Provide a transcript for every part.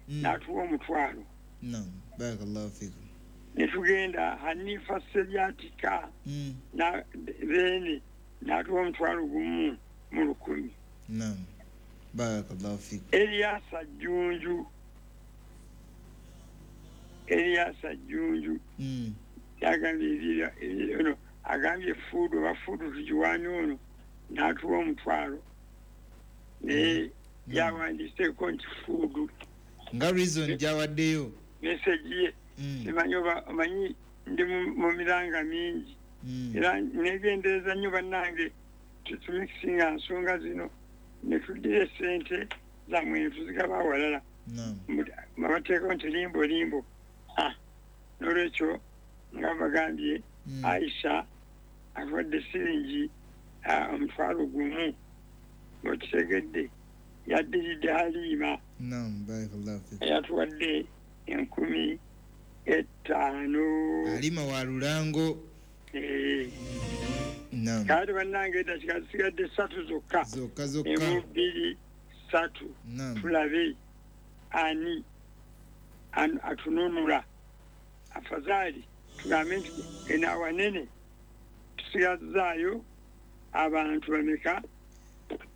N'atuwa 500. Naam, barakallahu fikum. Ne tugenda Hanifa Seryatika na Beene n'atuwa 1,000 mu 1,000. Naam, barakallahu fikum. Eliasa Jjunju yagambye ono agambye fuudu oba fuudu tugiwaani ono n'atuwa 500 naye yawandiiseeko nti fuudu nga reason gyawaddeyo meseji ye. Simanyi oba omanyi ndi mu miranga mingi era negendereza nnyo bannange tetumikisinga nsonga zino ne tuddira essente zammwe ne tuzigaba awalala. Babateekako nti limbo limbo. N'olwekyo nga bagambye Aisha awadde siringi 1,000 ng'okitegedde yaddiridde Halima. Naam, barakallahu fikum. Yatuwadde 5,000. Halima wa Lulango. Naam. Kale bannange eddakiika zisigadde 3 zokka. Zokka. 1, 2, 3. Naam. Tulabe ani atununula. Afadhali tugambe nti eno awanene tusigazaayo abantu bameka?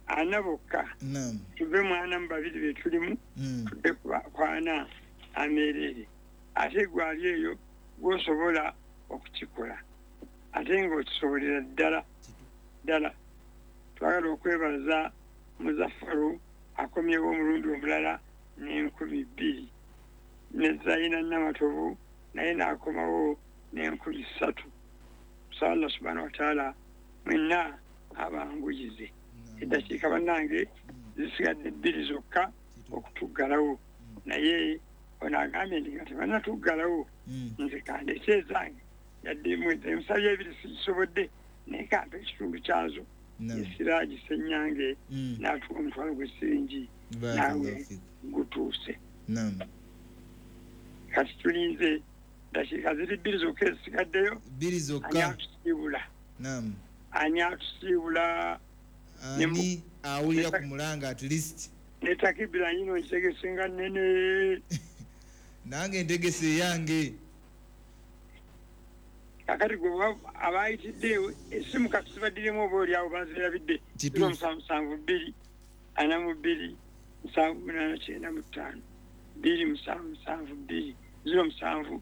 4 bokka. Naam. Tuve mu 42 be tulimu tudde ku 4 ameerere. Ate gwali eyo gw'osobola okukikola ate ng'okisobolera ddala ddala. Twagala okwebaza Muzaffaru akomyewo omulundi omulala n'2,000 ne Zaina Namatovu naye n'akomawo n'3,000. Tusaba Allah subhanahu wa ta'ala mwenna abanguyize. Eddakiika bannange zisigadde 2 zokka okutuggalawo naye ono agambye nti nga tebannatuggalawo nze kandeete ezange yadde emusabye 2 sigisobodde naye kampa ekitundu kyazo. Esiraaji Ssenyange n'atuwa 500 gw'essiringi naawe gutuuse. Kati tulinze dakiika ziri 2 zokka ezisigaddeyo. 2 zokka. Ani atusiibula? Ani awulira ku mulanga at least? Ne takibira yino ntegese nga nnene. Nange ntegese eyange. Kakati gwe abayitidde essimu kati zibaddiremu oba oli awo bazirabidde. 072 42 78 95 2 7 7 2 0 7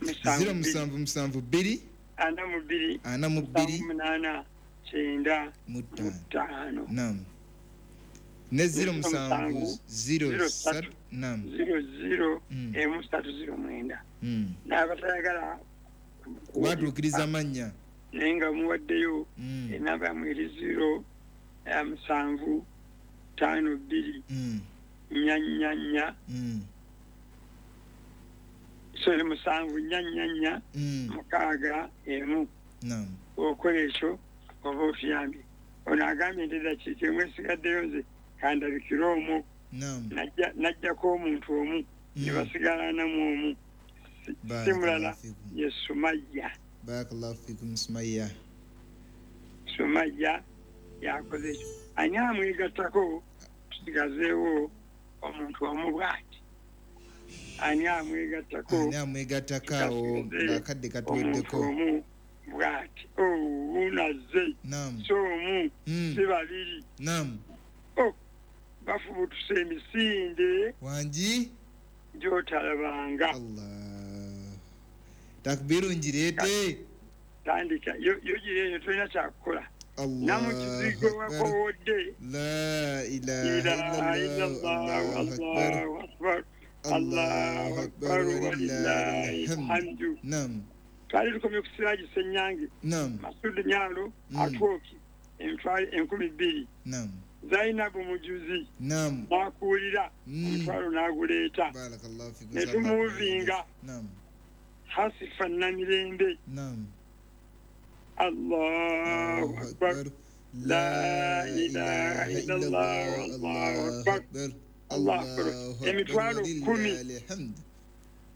0 7 7 2 42 42 8 9 5. Naam. Ne 0 7 0 3 naam 0 0 3 0 9. N'abatayagala watuukiriza amannya naye nga muwaddeyo enamba yammwe eri 0 7 5 2 4 4 4 sorry 7 4 4 4 6 1. Naam. Okola ekyo oba otuyambye. Ono agambye nti eddakiika emu esigaddeyo nze kandabikire omwo. Najjako omuntu omu ne basigala namu omu. Si mulala ye Sumayya. Barakallahu fikum Sumayya. Sumayya yakoze ekyo. Ani amwegattako tusigazeewo omuntu omu bw'ati? Ani amwegattako? Ani amwegattako awo ng'akadde katuweddeko? Omuntu omu bw'ati. Unazze. Naam. Si omu si babiri. Naam. Bafubutuse emisinde. Wangi? Gy'otalabanga. Allah. Takbiru ngireete. Tandika yo gireete tolina kyakukola. Allahu Namukizigo wakowodde. La ilaha illallah. Allahu akbar. Allahu akbar walillahi alhamdu. Naam. Twali tukomye ku Siraji Ssenyange. Naam. Masudi Nyalo atwoki 2,000. Naam. Zainabu Mujuzi. Naam. N'akuwulira omutwalo n'aguleeta. Barakallahu fikum. Ne tumuvinga. Naam. Hasifa Namirembe. Naam. Allahu akbar. La ilaha illallah. Allahu akbar. Allahu akbar. 10,000.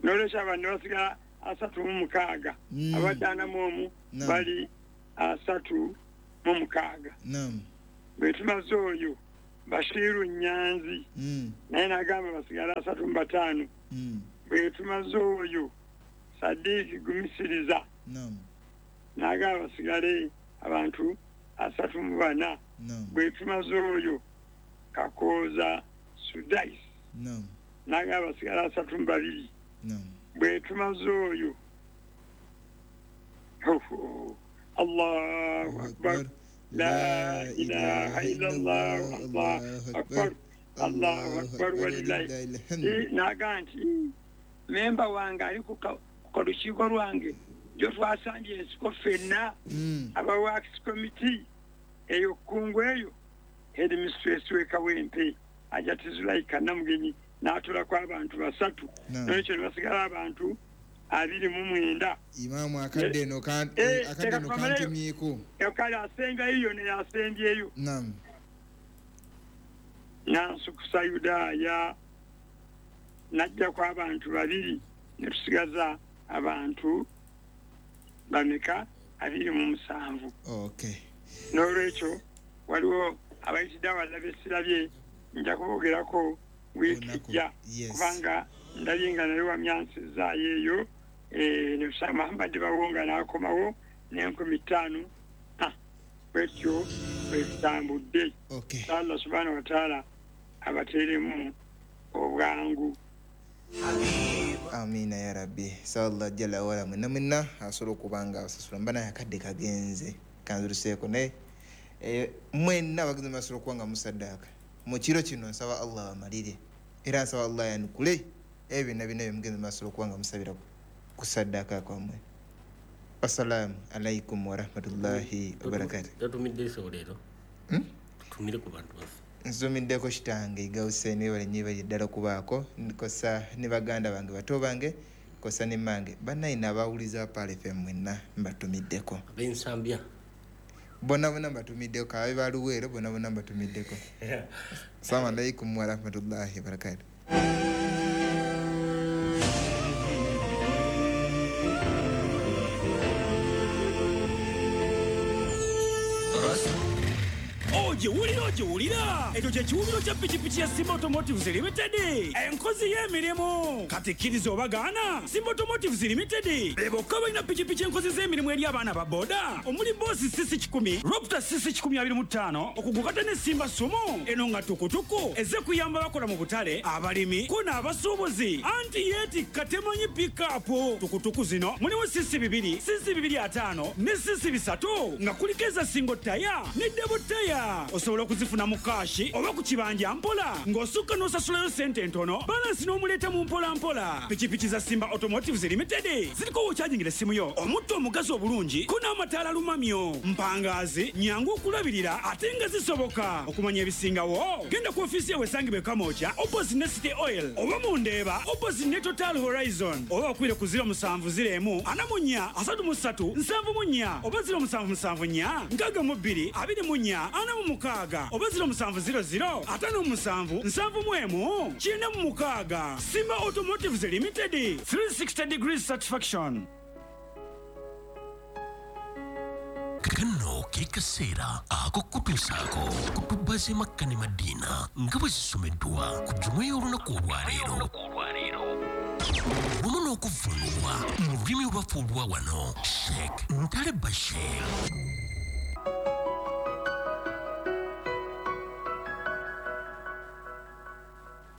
N'olwekyo abantu basigala 36. Abadde 41 bali 36. Naam. Bwe tumaze oyo Bashiru Nyanzi naye n'agamba basigale 35. Bwe tumaze oyo Sadiiki Gumisiriza n'agamba basigale abantu 34. Bwe tumaze oyo Kakooza Sudais n'agamba basigale 32. Bwe tumaze oyo Allahu Akbar, la ilaha illallah, Allahu Akbar, Allahu Akbar walillahi. N'agamba nti memba wange ali ku lukiiko lwange gyo twasambye ensiko ffenna aba works committee eyo kkungu eyo headmistress w'e Kawempe Hajati Zulaika Namugenyi n'atulako abantu 3. N'olwekyo ne basigala abantu 29. Imaamu akadde eno kantumyeko. Kale asembayo ne yasembyeyo. Naam. Nansukusa Yudaaya n'ajjako abantu 2 ne tusigaza abantu bameka 27. Okay. N'olwekyo waliwo abayitidde awalala besirabye nja kubogerako wiiki ejja kubanga ndabye nga naye wamyansizaayo eyo ne Muhammad Bawonga n'akomawo n'5,000. Bwetyo bwe tutambudde. Allah subhanahu wa ta'ala abateeremu obwangu. Amina ya Rabbi. Sallallahu jalla wala mwenna mwenna asobola okuba nga abasasula mbana akadde kagenze kanziruseeko naye mwenna abagenzi basobola okuba nga musaddaaka mu kiro kino. Nsaba Allah amalire era nsaba Allah yanukule ebyo byonna byonna byemugenzi basobola okuba nga musabira ku saddaaka kwammwe. Assalamu alaikum warahmatullahi wabarakatuh. Tatumidde leero tutumire ku bantu baffe. Nsumiddeko kitange Iga Hussein, webale nnyo ebali ddala okubaako kosa ne baganda bange bato bange kosa ne mmange bannayina abawuliza Pearl FM mwenna mbatumiddeko. Ab'ensambya bonna bonna mbatumiddeko, kabe baluweero bonna bonna mbatumiddeko. Assalamu alaikum warahmatullahi wabarakatuh. Ogiwulira ekyo kye kiwubiro kya pikipiki ya Simba Automotives Limited, enkozi y'emirimu. Kati kkiriza obagaana, Simba Automotives Limited be bokka balina pikipiki enkozi z'emirimu eri abaana ba boda omuli Boss CC 10, Raptor CC 125, okugukata ne Simba Sumo eno nga tukutuku ezze kuyamba bakola mu butale, abalimi ko n'abasuubuzi. Anti yeetikka temanyi pikapu. Tukutuku zino mulimu CC 2, CC 25 ne CC 3 nga kuliko eza single taya ne double taya. Osobola okuzifuna mu kashi oba ku kibanja mpola ng'osukka n'osasulayo ssente entono, balansi n'omuleeta mu mpola mpola. Pikipiki za Simba Automotives Limited ziriko w'okyajingira essimu yo, omutto omugazi obulungi ko n'amataala lumamyo, mpangaazi, nyangu okulabirira ate nga zisoboka. Okumanya ebisingawo genda ku ofiisi yawe esangibwa e Kamwokya opposite ne City Oil oba mu Ndeeba opposite ne Total Horizon oba bakubire ku 0701 44 33 74 oba 0774 62 24 46 oba 0700 57 71 96. Simba Automotives Limited, 360 degrees satisfaction. Kano ke kaseera ak'okutuusaako kutuba z'e Makka ne Madiina nga bwe zisomeddwa ku jjuma y'olunaku olwaleero wamu n'okuvvuunulwa mu lulimi olwaffe olwa wano Sheikh Ntale Bashir.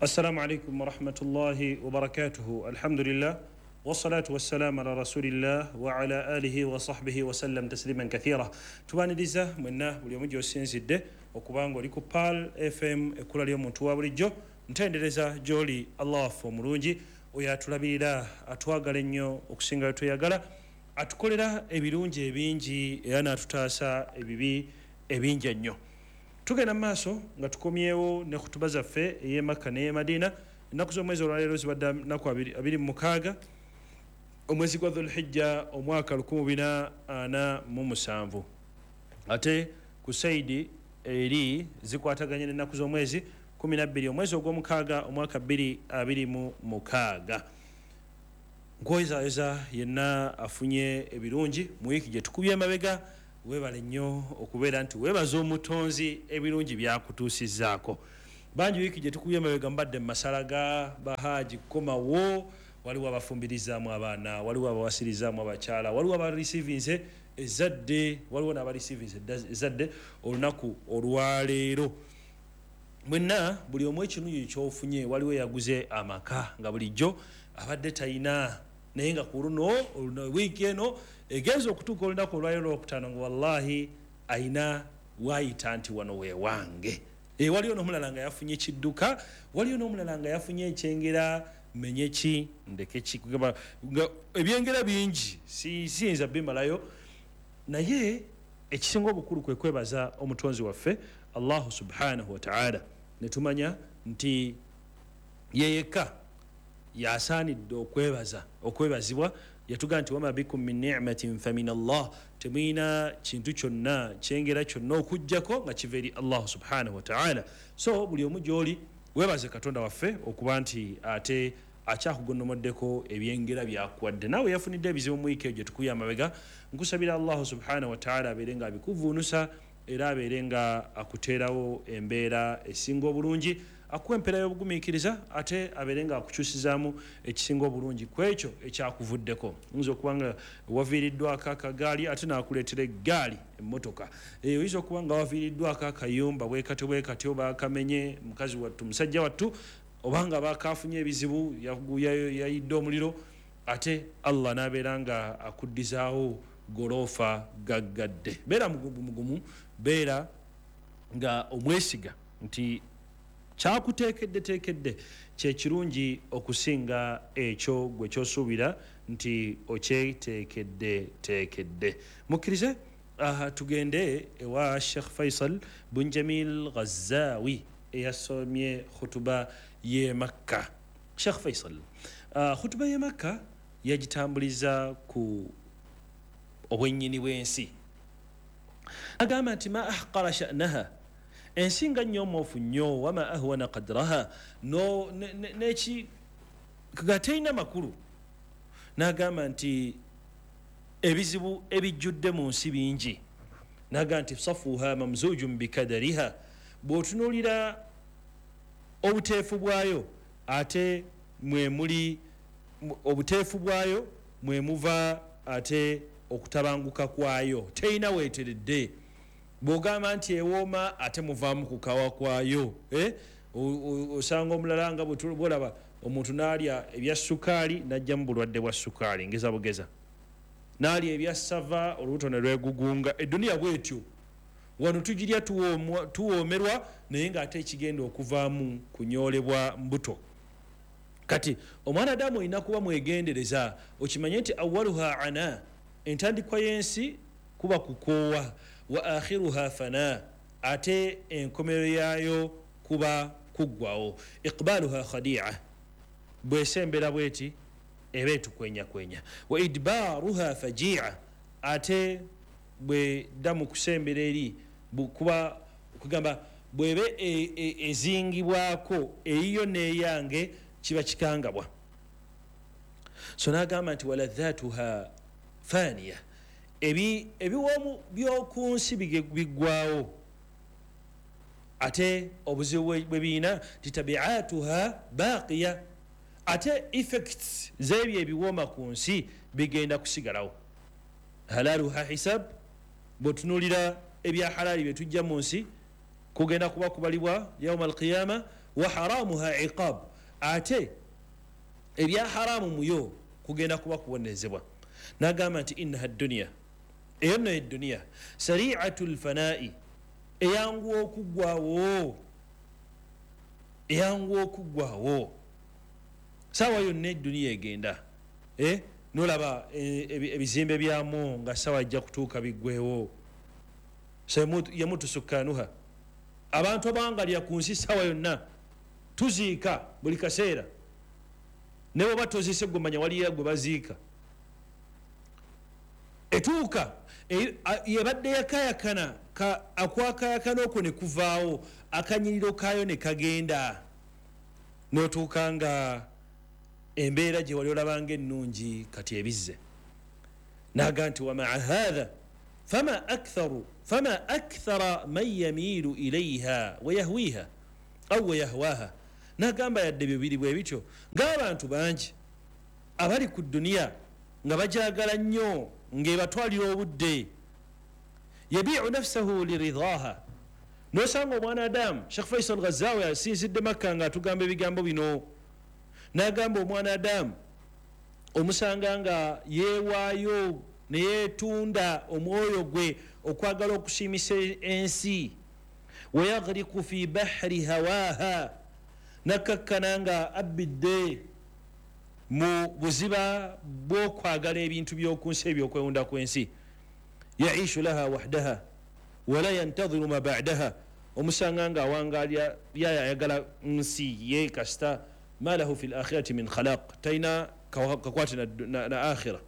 السلام عليكم ورحمة الله وبركاته. الحمد لله والصلاة والسلام على رسول الله وعلى آله وصحبه وسلم تسليما كثيرا. Tubaniriza mwenna buli omu gy'osinzidde okubanga oli ku Pearl FM ekkula ly'omuntu wa bulijjo. Ntendereza gy'oli Allah waffe omulungi oyo atulabirira, atwagala ennyo okusinga bwe tweyagala, atukolera ebirungi ebingi era n'atutaasa ebibi ebingi ennyo. Tugenda mu maaso nga tukomyewo ne khutuba zaffe ey'e Makka n'ey'e Madiina. Ennaku z'omwezi olwaleero zibadde nnaku 26 omwezi gwa Dhulhijja omwaka 1447, ate ku saidi eri zikwataganye n'ennaku z'omwezi 12 omwezi ogw'omukaaga omwaka 2026. Nkwoyezayeza yenna afunye ebirungi mu wiiki gye tukubye emabega, Weebale nnyo okubeera nti weebaza omutonzi ebirungi byakutuusizzaako. Bangi wiiki gye tukubye emabega mbadde mu masala ga bahaji kukomawo, waliwo abafumbirizaamu abaana, waliwo abawasirizaamu abakyala, waliwo abarisiivinze ezzadde, waliwo n'abarisiivinze ezzadde olunaku olwaleero. Mwenna buli omu ekirungi kyofunye, waliwo eyaguze amaka nga bulijjo abadde talina, naye nga ku luno wiiki eno egenza okutuuka olunaku olwaleero olwokutaano nga wallahi ayina waayita nti wano weewange. Waliwo n'omulala nga yafunye kidduka, waliwo n'omulala nga yafunye ekyengera, menye ki ndeke ki, nga ebyengera bingi siyinza bimalayo, naye ekisinga obukulu kwe kwebaza omutonzi waffe Allahu subhanahu wa ta'ala, ne tumanya nti ye yekka yasaanidde okwebaza okwebazibwa. Yatugamba nti wama bikum min ni'matin famin Allah, temulina kintu kyonna kyengera kyonna okuggyako nga kiva eri Allahu subhanahu wa ta'ala. So buli omu gy'oli weebaze Katonda waffe okuba nti ate akyakugonnomoddeko ebyengera byakuwadde. Naawe yafunidde ebizibu mu wiiki eyo gye tukubye amabega, nkusabira Allahu subhanahu wa ta'ala abeere nga abikuvuunusa era abeere nga akuteerawo embeera esinga obulungi, akuwa empeera y'obugumiikiriza, ate abeere nga akukyusizaamu ekisinga obulungi ku ekyo ekyakuvuddeko. Oyinza okuba nga waviiriddwako akagaali ate n'akuleetera eggaali emmotoka. Oyinza okuba nga waviiriddwako akayumba bwe katyo bwe katyo baakamenye mukazi wattu musajja wattu, oba nga baakaafunye ebizibu yayidde omuliro, ate Allah n'abeera nga akuddizaawo goloofa gaggadde. Beera mugumu, beera nga omwesiga nti kyakuteekeddeteekedde kye kirungi okusinga ekyo gwe ky'osuubira nti okyeteekeddeteekedde. Mukkirize tugende ewa Sheikh Faisal Bunjamil Ghazawi eyasomye khutuba y'e Makka. Sheikh Faisal, khutuba y'e Makka yagitambuliza ku obwennyini bw'ensi. Agamba nti ma ahqara sha'naha, ensi nga nnyomoofu nnyo, wama ahwana qadraha, neki nga terina makulu. N'agamba nti ebizibu ebijjudde mu nsi bingi. N'agamba nti safuha mamzujun bikadariha, bw'otunuulira obuteefu bwayo ate mwe muli obuteefu bwayo mwe muva ate okutabanguka kwayo, terina weeteredde. Bw'ogamba nti ewooma ate muvaamu kukawa kwayo. Osanga omulala nga bwolaba omuntu n'alya ebya sukaali n'ajjamu bulwadde bwa sukaali, ngeza bugeza, n'alya ebya sava olubuto ne lwegugunga. Edduniya bwetyo, wano tugirya tuwoomerwa, naye ng'ate ekigenda okuvaamu kunyoolebwa mbuto. Kati omwana Adamu olina kuba mwegendereza, okimanye nti awaluha ana, entandikwa y'ensi kuba kukoowa, wa akhiruha fana, ate enkomero yaayo kuba kuggwawo. Iqbaluha khadi'a, bwesembera bweti eba etukwenyakwenya. Wa idbaruha faji'a, ate bwedda mu kusembera eri kuba kugamba bwebe ezingibwako eyiyo n'eyange kiba kikangabwa. So n'agamba nti waladhatuha faniya, ebiwoomu by'oku nsi biggwawo, ate obuzibu bwe birina nti tabiatuha baqiya, ate effects z'ebyo ebiwooma ku nsi bigenda kusigalawo. Halaluha hisab, bw'otunuulira ebya halaali bye tujja mu nsi kugenda kuba kubalibwa yauma alqiyama. Wa haramuha iqab, ate ebya haramu muyo kugenda kuba kubonerezebwa. N'agamba nti innaha dduniya, eyo nno edduniya sariatu lfanai, eyanguwa okuggwawo, eyanguwa okuggwawo. Saawa yonna edduniya egenda, nolaba ebizimbe byamu nga saawa ajja kutuuka biggwewo. Yamutu sukkanuha, abantu abangalya ku nsi saawa yonna tuziika buli kaseera, ne bw'oba toziise gwe manya waliyo gwe baziika. Etuuka yebadde yakayakana, akwakayakana okwo ne kuvaawo, akanyiriro kaayo ne kagenda, n'otuuka nga embeera gye wali olabanga ennungi kati ebizze. N'agamba nti wa maa hatha, Fama akthara man yamiilu ilaiha wayahwiha au wayahwaha. Nagamba yadde bibiri bwe bityo, ng'abantu bangi abali ku duniya nga bajagala nnyo ng'ebatwalira obudde. Yabiu nafsahu liridhaha. Nosanga omwana Adamu, Sheikh Faisal Ghazawi asinzidde Makka ng'atugamba ebigambo bino, n'agamba omwana Adamu omusanga nga yeewaayo ne yeetunda omwoyo gwe okwagala okusiimisa ensi. Wayaghriku fi bahri hawaha, nakkakkana nga abbidde mu buziba bw'okwagala ebintu by'oku nsi, ebyokwewunda kw'ensi. Yaishu laha wahdaha wala yantadhiru ma ba'daha, omusanga nga awangalya yayagala nsi ye kasita ma lahu fi lakhirati min khalaq, talina kakwate na akhira,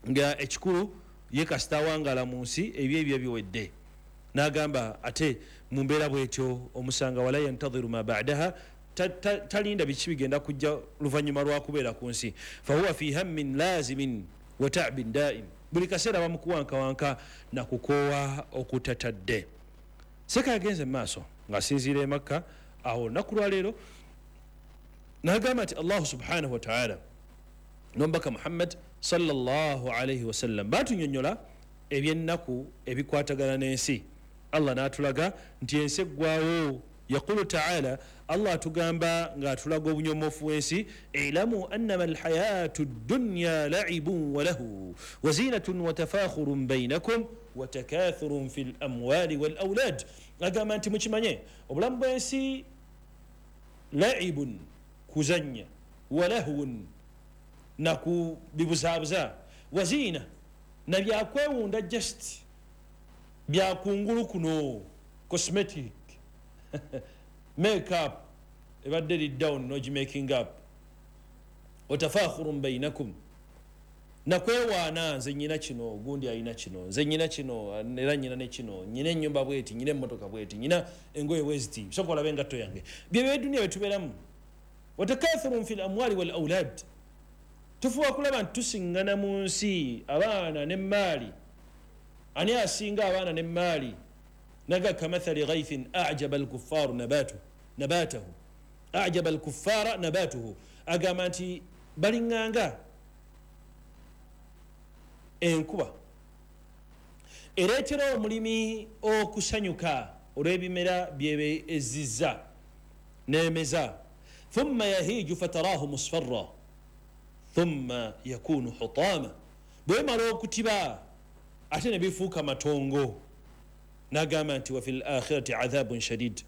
nga ekikulu ye kasita awangala mu nsi ebyo ebyo biwedde. N'agamba ate mu mbeera bwetyo omusanga wala yantadhiru ma ba'daha, talinda biki bigenda kujja luvannyuma lwa kubeera ku nsi. Fahuwa fi hammin lazimin wa ta'bin daim, buli kaseera bamukuwankawanka na kukoowa okutatadde. Seka yagenze mu maaso ng'asinziira e Makka awo olunaku lwaleero, n'agamba nti Allahu subhanahu wa ta'ala n'omubaka Muhammad sallallahu alaihi wasallam batunyonnyola ebyennaku ebikwatagana n'ensi. Allah n'atulaga nti ensi eggwawo. Yaqulu ta'ala, Allah atugamba ng'atulaga obunyomofu bw'ensi, ilamu annama alhayatu ddunya laibun wa lahu wa zinatun wa tafakhurun bainakum wa takathurun fi lamwali wal aulad. Agamba nti mukimanye obulamu bw'ensi laibun, kuzannya, wa lahwun, nakubibuzaabuza, wa zina, na byakwewunda, just byakungulu kuno, cosmetic make up ebadde eri down nogi making up, watafakhurun bainakum, nakwewaana, nze nyina kino, gundi alina kino, nze nyina kino, era nyina ne kino, nyina ennyumba bweti, nyina emmotoka bweti, nyina engoye bweziti, soka olabe engatto yange. Byebyo eduniya byetubeeramu. Watakathurun fi lamwali wal aulad, tufuba kulaba nti tusiŋŋana mu nsi abaana n'emmaali. Ani asinga abaana n'emmaali? Naga kamathali ghaithin ajaba alkuffaru nabatahu, ajaba alkuffara nabatuhu. Agamba nti baliŋŋanga enkuba ereetera omulimi okusanyuka olw'ebimera byebe ezizza n'emeza. Thumma yahiju fatarahu musfarra thumma yakunu hutama, bwemala okutiba ate ne bifuuka matongo. N'agamba nti wa fi lakhirati adhabun shadid,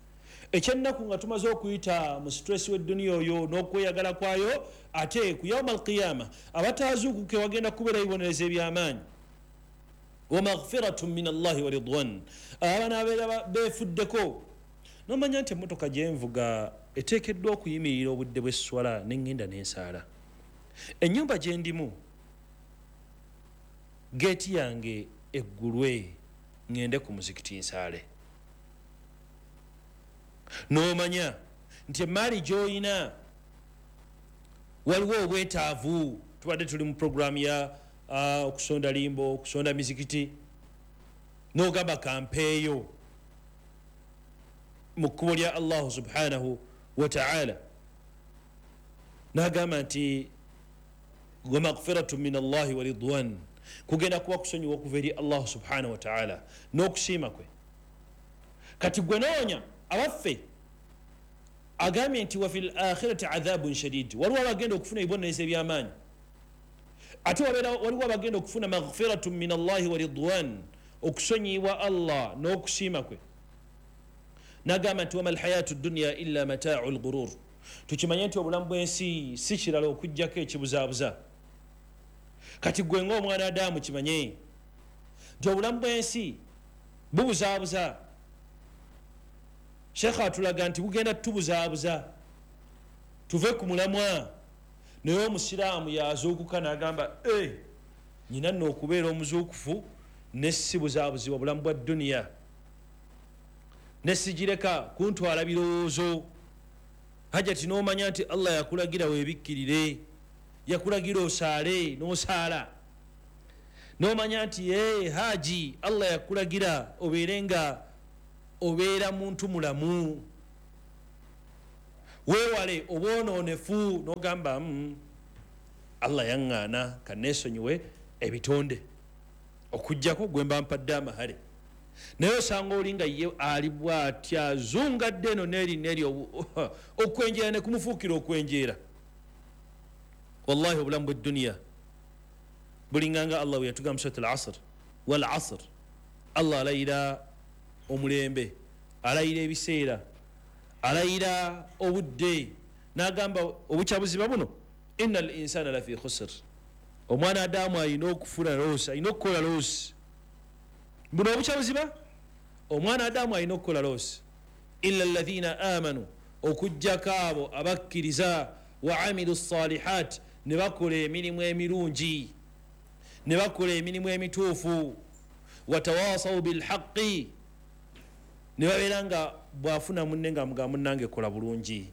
ekyennaku nga tumaze okuyita mu stress w'edduniya oyo n'okweyagala kwayo, ate ku yauma alqiyama abataazuukuke wagenda kubeera ebibonerezo eby'amaanyi. Wa maghfiratun min Allahi wa ridwan, abanaabeera beefuddeko. Nomanya nti emmotoka gyenvuga eteekeddwa okuyimirira obudde bw'esswala neŋŋenda n'ensaala. Ennyumba gye ndimu geeti yange eggulwe ŋŋende ku muzikiti nsaale. N'omanya nti emaali gy'oyina waliwo obwetaavu. Tubadde tuli mu puroguramu ya okusonda limbo, okusonda mizikiti, n'ogamba kampeeyo mu kkubo lya Allahu subhanahu wa ta'ala. N'agamba nti wa maghfiratun min Allahi wa ridwan, kugenda kuba kusonyiwa okuva eri Allahu subhanahu wa ta'ala n'okusiima kwe. Kati gwe noonya abaffe, agambye nti wa fil akhirati adhabun shadid, waliwo abagenda okufuna ebibonerezo eby'amaanyi, ate waliwo abagenda okufuna maghfiratun min Allahi wa ridwan, okusonyiwa Allah n'okusiima kwe. N'agamba nti wama alhayatu dunya illa mataau lghurur, tukimanye nti obulamu bw'ensi si kirala okuggyako ekibuzaabuza. Kati gwe ng'omwana Adamu kimanye nti obulamu bw'ensi bubuzaabuza. Sheekh atulaga nti bugenda tubuzaabuza tuve ku mulamwa. Naye omusiraamu yazuukuka n'agamba nyina nno okubeera omuzuukufu ne si buzaabuzibwa bulamu bwa duniya, ne sigireka kuntwala birowoozo. Hajati n'omanya nti Allah yakulagira weebikkirire, yakulagira osaale n'osaala. N'omanya nti ye haji Allah yakulagira obeere nga obeera muntu mulamu, weewale obwonoonefu, n'ogamba Allah yaŋŋaana kanneesonyiwe ebitonde okuggyako gwe mba mpadde amahale. Naye osanga oli nga ye ali bw'atya azungadde eno n'eri n'eri, okwenjeera ne kumufuukira okwenjeera. Wallahi obulamu bw'edduniya bulinganga Allah bwe yatugamba mu Surat al-Asr, wal asr, Allah alayira omulembe, alayira ebiseera, alayira obudde, n'agamba obukyabuziba buno, innal insana lafi khusr, omwana Adamu alina okufuna loosi, alina okukola loosi. Buno obukyabuziba omwana Adamu alina okukola loosi, illa alladhina amanu, okuggyako abo abakkiriza, wa amilu salihat, ne bakola emirimu emirungi, ne bakola emirimu emituufu, watawasaw bilhaqi, ne babeera nga bw'afuna munne nga mugamba munnange kola bulungi,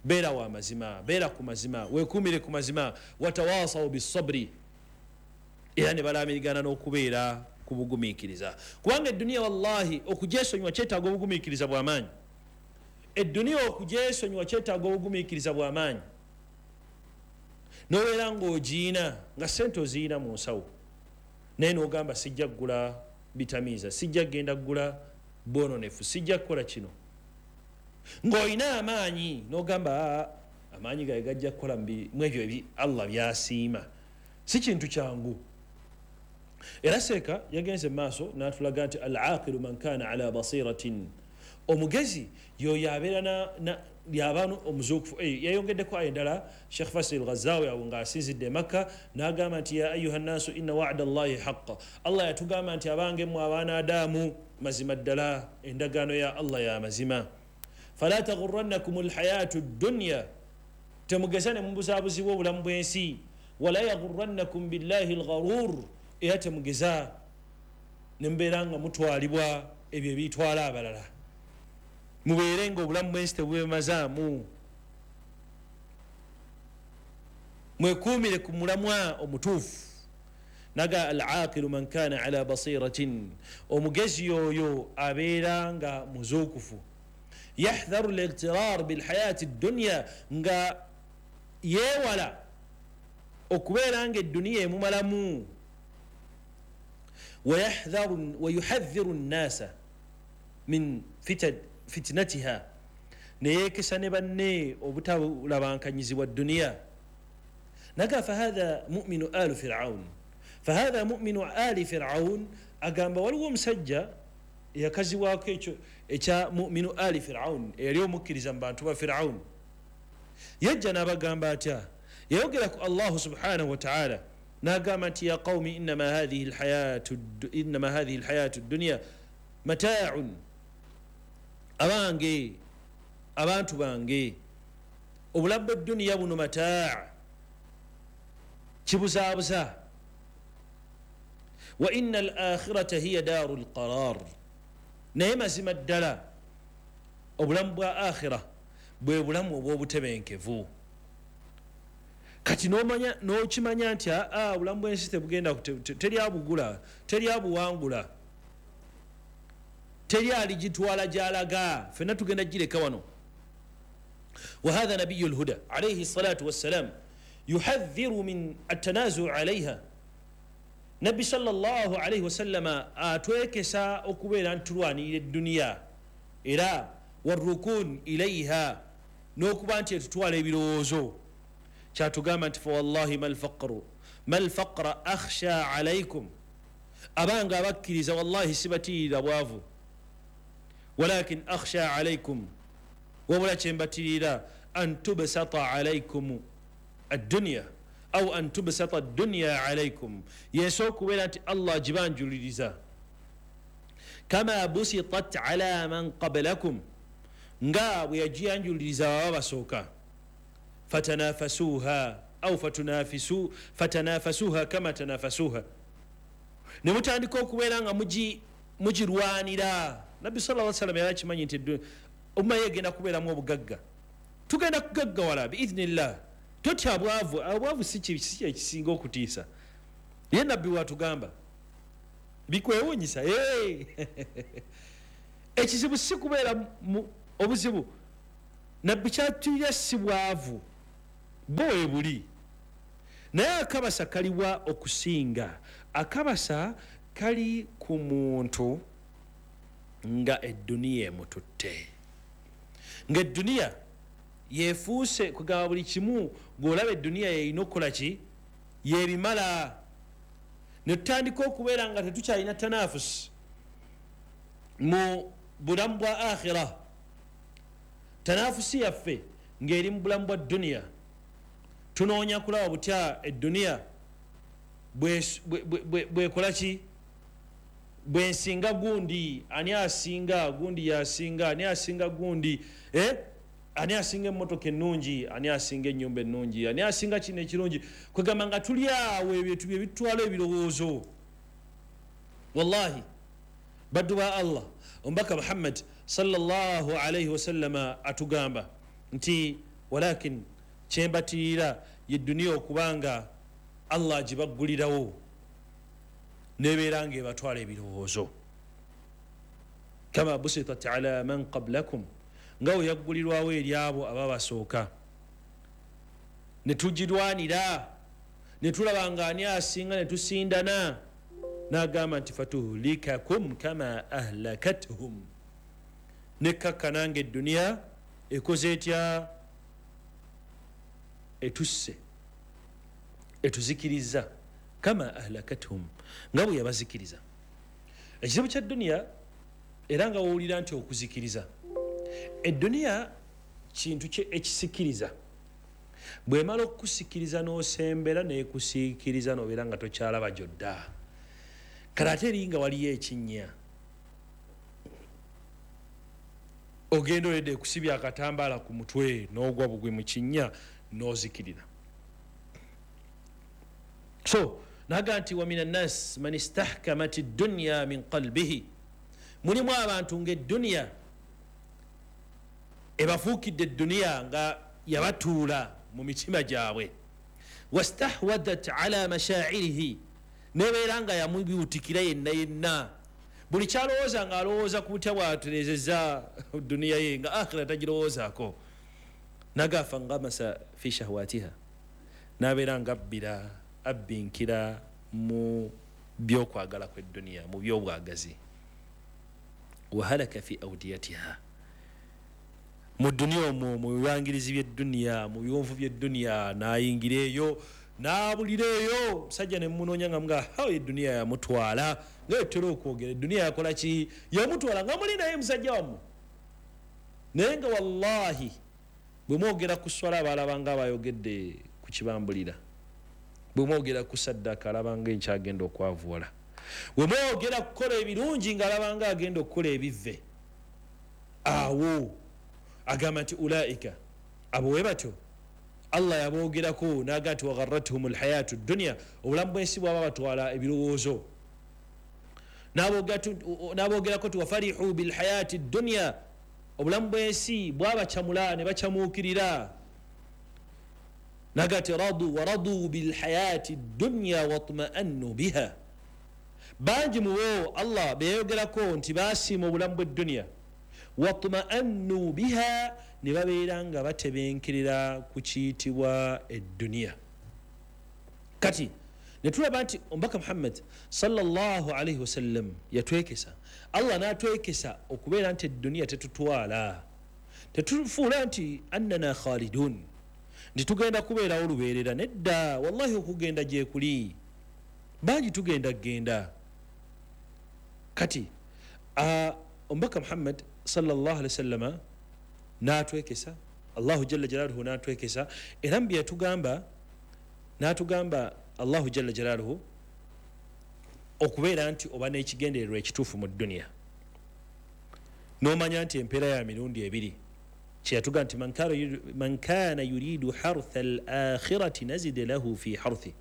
beera wa mazima, beera ku mazima, weekuumire ku mazima, watawasaw bisabri, era ne balaamirigana n'okubeera ku bugumiikiriza. Kubanga edduniya wallahi okugyesonyiwa kyetaaga obugumiikiriza bw'amaanyi. Edduniya okugyesonyiwa kyetaaga obugumiikiriza bw'amaanyi. N'obeera ng'ogiina nga ssente oziina mu nsawo, naye n'ogamba sijja kugula bitamiiza, sijja kugenda kugula bwononefu, sijja kukola kino. Ng'olina amaanyi n'ogamba amaanyi gaye gajja kukola mu ebyo Allah by'asiima. Si kintu kyangu. Era seeka yagenze maaso n'atulaga nti al-aqilu man kana ala basiratin, omugezi yoyo abeera yaba omuzuukufu. Yayongeddeko aya endala Sheikh Fasil Ghazawi awo ng'asinzidde e Makka n'agamba nti ya ayuha nnaasu inna wa'da Allahi haqqa, Allah yatugamba nti abange mmwe abaana Adamu, mazima ddala endagaano ya Allah ya mazima. Fala taghurrannakum alhayatu ddunya, temugeza ne mubuzaabuzibwa obulamu bw'ensi. Wala yaghurrannakum billahi algharur, era temugeza ne mubeera nga mutwalibwa ebyo ebitwala abalala, mubeere nga obulamu bw'ensi tebwemazaamu, mwekuumire ku mulamwa omutuufu. Naga al-aqilu man kana ala basiratin, omugezi yoyo abeera nga muzuukufu. Yahdharu al-ightirar bilhayati ddunya, nga yeewala okubeera nga edduniya emumalamu. Wayuhadhiru nnasa min fitnatiha, neyeekesa ne banne obutabulabankanyizibwa dduniya. Naga fahadha muminu alu firaun, fahadha muminu ali firaun, agamba waliwo omusajja eyakazibwako ekyo ekya muminu ali firaun, eyali omukkiriza mu bantu ba Firaun. Yajja n'abagamba atya? Yayogera ku Allahu subhanahu wa ta'ala n'agamba nti ya qawmi innama hadhihi alhayatu ddunya mata'un, abange abantu bange, obulamu bw'edduniya buno mataa, kibuzaabuza. Wa inna al-akhirata hiya daaru lqarar, naye mazima ddala obulamu bwa akhira bwe bulamu obw'obutebenkevu. Kati n'okimanya nti obulamu bw'ensi tebugenda, teri abugula, teri abuwangula, teri aligitwala gy'alaga, ffenna tugenda gireka wano. Wa hatha nabiyu lhuda alaihi salatu wassalam yuhadhiru min attanazuu alaiha, Nabbi sallallahu alaihi wasallama atwekesa okubeera nti tulwanirira edduniya, era warukun ilaiha, n'okuba nti etutwala ebirowoozo. Kyatugamba nti fawallahi malfaqra akhsha alaikum, abange abakkiriza wallahi sibatiirira bwavu, walakin akhsha alaikum, wabula kyembatiirira an tubsata alaikum addunya au an tubsata addunya alaikum, yensi okubeera nti Allah agibanjuliriza. Kama busitat ala man qablakum, nga bwe yagiyanjuliriza baba basooka. Fatanafasuha au fatanafasuha kama tanafasuha, ne mutandika okubeera nga mugirwanira. Nabbi sallallahu alaihi wasallam yali akimanyi nti umma ye egenda kubeeramu obugagga, tugenda kugaggawala biidhnillah. Totya bwavu, obwavu si ekisinga okutiisa. Ye nabbi watugamba bikwewunyisa. Ekizibu si kubeera obuzibu, nabbi kyatulira si bwavu bo webuli, naye akabasa kaliwa okusinga. Akabasa kali ku muntu nga edduniya emututte, nga edduniya yefuuse kugamba buli kimu gwolaba edduniya yeyina okukola ki, yebimala. Netutandika okubeera nga tetukyalina tanafusi mu bulamu bwa akhira, tanafusi yaffe ng'eri mu bulamu bwa duniya. Tunoonya kulaba butya edduniya bwekola ki, bwensinga gundi, ani asinga gundi, yasinga ani asinga gundi, ani asinga emmotoka ennungi, ani asinga ennyumba ennungi, ani asinga kino ekirungi. Kwegamba nga tuli awo ebintu bye bitwala ebirowoozo. Wallahi baddu ba Allah, omubaka Muhammad sallallahu alaihi wasallama atugamba nti walakin kyembatirira ye duniya okubanga Allah agibaggulirawo nebeera nga ebatwala ebirowoozo. Kama busitat ala man qablakum, nga we yaggulirwawo eri abo ababasooka, ne tugirwanira ne tulaba nga ani asinga ne tusindana. N'agamba nti fatuhlikakum kama ahlakathum, nekkakkana nga edduniya ekoze etya, etusse, etuzikiriza. Kama ahlakathum, nga bwe yabazikiriza. Ekizibu kya duniya era nga wowulira nti okuzikiriza edduniya kintu ekisikiriza, bwemala okukusikiriza n'osembera nekusiikiriza n'obeera nga tokyalaba gyodda. Kale ate eri nga waliyo ekinnya, ogenda oledde ekusibya akatambaala ku mutwe n'ogwa bugwi mu kinnya n'ozikirira. So naga nti wa min annas man istahkamat ad-dunya min qalbihi, mulimu abantu ng'edduniya ebafuukidde edduniya nga yabatuula mu mitima gyabwe, wastahwadat ala mashairihi, nebeera nga yamubiutikira yenna yenna, buli kyalowooza nga alowooza ku butya bwaterezeza duniya ye nga akhira tagirowoozaako. Naga fangamasa fi shahwatiha, nabeera nga abbira abbinkira mu byokwagala kw'edduniya, mu byobwagazi. Wahalaka fi audiyatiha, mu duniya omwo, mu bibangirizi by'edduniya, mu biwonvu by'edduniya, n'ayingira eyo n'abulira eyo. Musajja ne munoonya nga mga hawo edduniya yamutwala, nga etera okwogera edduniya yakola ki, yamutwala nga muli naye musajja wammwe. Naye nga wallahi bwe mwogera ku swala abalabanga abayogedde ku kibambulira, bwe mwogera ku saddaka alabanga enkyagenda okwavuwala, bwe mwogera kukola ebirungi ng'alabanga agenda okukola ebivve. Awo agamba nti ulaika, abo we batyo Allah yaboogerako n'agamba nti wagharrathum alhayatu dunya, obulamu bw'ensi bwaba batwala ebirowoozo. N'aboogerako nti wafarihu bilhayati dunya, obulamu bw'ensi bwabacamula ne bacamuukirira. Naga nti radu waradu bilhayati dunya watma'annu biha, bangi mubo Allah beyogerako nti basiima obulamu bw'edduniya, watma'annu biha, ne babeera nga batebenkerera ku kiyitibwa edduniya. Kati ne tulaba nti omubaka Muhammad sallallahu alaihi wasallam yatwekesa, Allah n'atwekesa okubeera nti edduniya tetutwala, tetufuula nti annana khalidun, nti tugenda kubeerawo lubeerera. Nedda, wallahi okugenda gyekuli, bangi tugenda genda. Kati omubaka Muhammad sallallahu alaihi wasallama n'atwekesa, Allahu jalla jalaluhu n'atwekesa, era mu bye yatugamba n'atugamba Allahu jalla jalaluhu okubeera nti oba n'ekigendererwa ekituufu mu dduniya, n'omanya nti empeera ya mirundi ebiri. Kyeyatuga nti man kana yuridu hartha al akhirati nazid lahu fi harthi,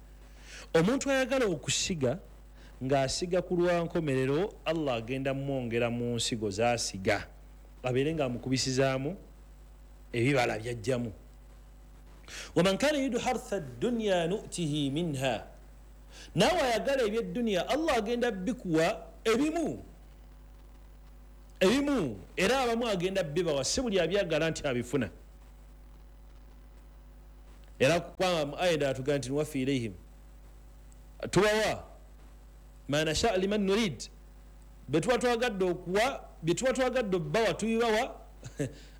omuntu ayagala okusiga ng'asiga ku lwa nkomerero, Allah agenda mwongera mu nsigo z'asiga, abeere ng'amukubisizaamu ebibala byajjamu. Waman kana yuridu hartha dunya nutihi minha, Naawe ayagala ebyedduniya, Allah agenda bikuwa ebimu ebimu, era abamu agenda bibawa, si buli abyagala nti abifuna. Era kubanga mu aya endala tugamba nti nuwafi ilaihim, tubawa ma nasha liman nurid, betuba twagadde okuwa, byetuba twagadde obbawa tubibawa,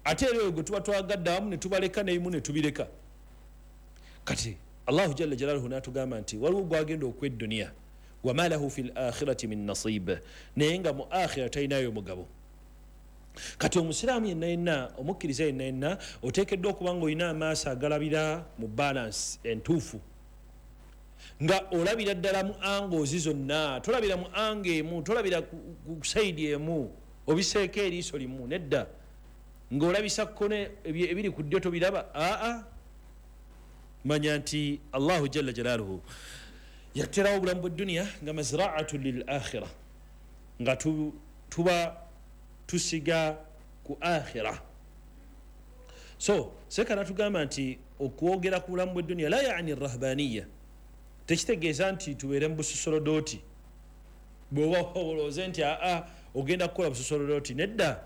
ate era oyo gwe tuba twagadde awamu ne tubaleka n'ebimu ne tubireka. Kati Allahu jalla jalaluhu n'atugamba nti waliwo gwagenda okuwa edduniya, wama lahu fi lakhirati min nasib, naye nga mu akhira talinayo mugabo. Kati omusiraamu yenna yenna, omukkiriza yenna yenna, oteekeddwa okuba nga olina amaaso agalabira mu balance entuufu, nga olabira ddala mu angles zonna, tolabira mu angle emu, tolabira ku side emu, obiseeko eriiso limu, nedda, ng'olabisa kkone ebiri ku ddyo tobiraba. Aa, manya nti Allahu jalla jalaluhu yaterawo obulamu bw'edduniya nga mazraatu lil akhira, nga tuba tusiga ku akhira. So seka natugamba nti okwogera ku bulamu bw'edduniya la yani rahbaniya, tekitegeeza nti tubeere mu busosolodoti. Bw'oba olowooze nti aa ogenda kukola busosolodoti, nedda.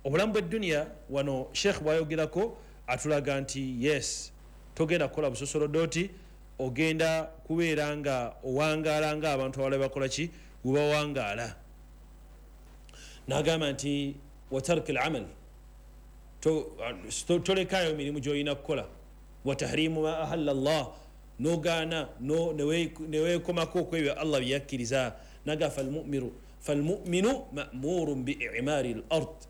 Obulamu bw'edduniya wano Sheikh bw'ayogerako atulaga nti yes, togenda kukola busosolodoti, ogenda kubeera nga owangaala nga abantu abalala bakola ki, webawangaala. N'agamba nti watarki al-amal, tolekayo mirimu gy'olina kukola, watahrimu ma ahalla Allah, nogaana neweekomako okwebyo Allah bye yakkiriza. Naga falmuminu ma'murun bi i'mari al-ard,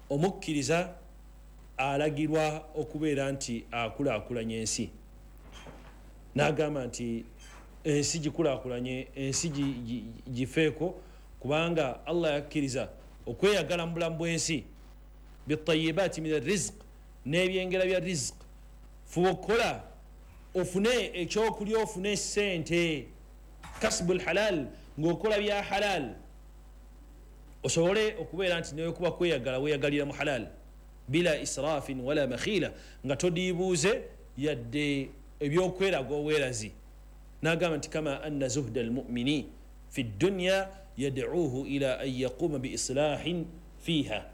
omukkiriza alagirwa okubeera nti akulaakulanya ensi. N'agamba nti ensi gikulaakulanye, ensi gifeeko, kubanga Allah yakkiriza okweyagala mu bulamu bw'ensi, bitayibaati min arrizq, n'ebyengera bya rizq. Fuba okukola ofune ekyokulya, ofune sente, kasbu lhalal, ng'okola bya halal, osobole okubeera nti newekuba kweyagala weeyagalira mu halal, bila israfin wala makhila, nga todiibuuze yadde ebyokweraga obwerazi. N'agamba nti kama anna zuhda almumini fi dunya yad'uuhu ila an yaquuma biislahin fiiha,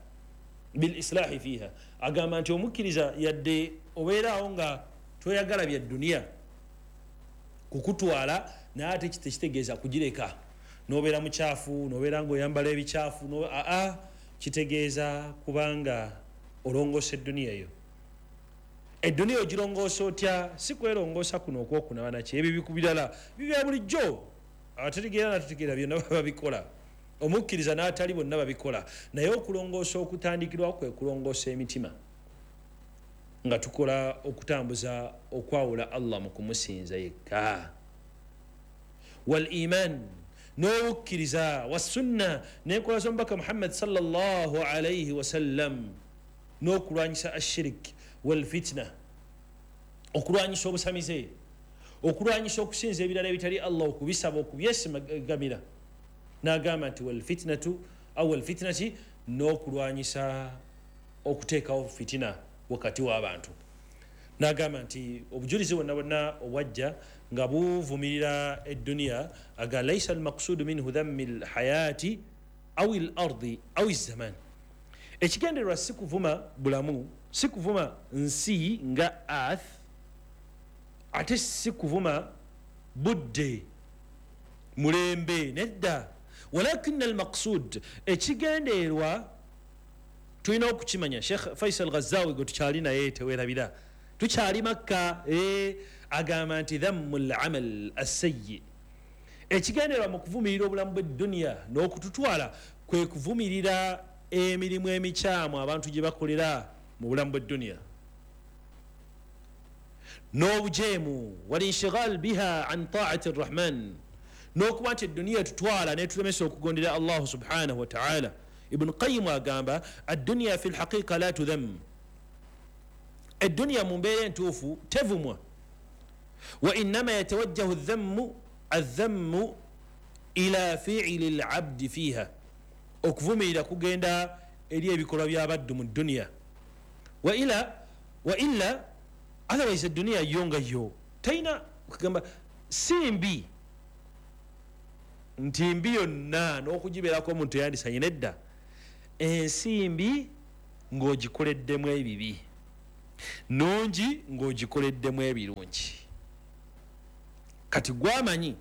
bilislahi fiiha. Agamba nti omukkiriza yadde obeeraawo nga toyagala bya duniya kukutwala, naye ate tekitegeeza kugireka nobeera mukyafu, nobeera ngaoyambala ebikyafu. Aa, kitegeeza kubanga olongoosa edduniya yo. Edduniya ogirongoosa otya? Si kwerongoosa kuno okwokunaba naki, ebyo birala bibya bulijjo, abategeera n'atategeera byonna babikola, omukkiriza n'atali bonna babikola. Naye okulongoosa okutandikirwawo kwe kulongoosa emitima, nga tukola okutambuza okwawula Allah mu kumusinza yekka, wal iman, n'obukkiriza, wassunna, n'enkola z'omubaka Muhammad sallallahu alaihi wasallam, n'okulwanyisa ashirik wal fitna, okulwanyisa obusamize, okulwanyisa okusinza ebirala ebitali Allah, okubisaba, okubyesigamira. N'agamba nti wal fitnatu aw wal fitnati, n'okulwanyisa okuteekawo fitina wakati w'abantu. N'agamba nti obujulizi bwonna bwonna obwajja nga buvumirira edduniya, aga laisa almaqsudu minhu dhammi lhayati aw lardi aw zaman. Ekigendererwa si kuvuma bulamu, si kuvuma nsi nga earth, ate si kuvuma budde mulembe, nedda. Walakina almaqsud, ekigendererwa tulina okukimanya. Sheikh Faisal Ghazawi gwe tukyali naye, tewerabira tukyali Makka, agamba nti dhammu lamal assayi, ekigendererwa mu kuvumirira obulamu bw'edduniya n'okututwala kwe kuvumirira emirimu emikyamu abantu gye bakolera mu bulamu bw'edduniya n'obujeemu, walinshigal biha an taati rrahman, n'okuba nti edduniya tutwala netulemesa okugondera Allahu subhanahu wataala. Ibnu Qayimu agamba adduniya fi lhaqiqa la tudham, edduniya mu mbeera entuufu tevumwa, wa innama yatawajjahu adhammu ila fiili labdi fiiha, okuvumirira kugenda eri ebikolwa by'abaddu mu dduniya. Wa illa otherwise edduniya yo nga yo talina kugamba si mbi. Nti mbi yonna n'okugibeerako omuntu yandisanye nedda. Ensi mbi ng'ogikoleddemu ebibi, nungi ng'ogikoleddemu ebirungi. Kati gwamanyi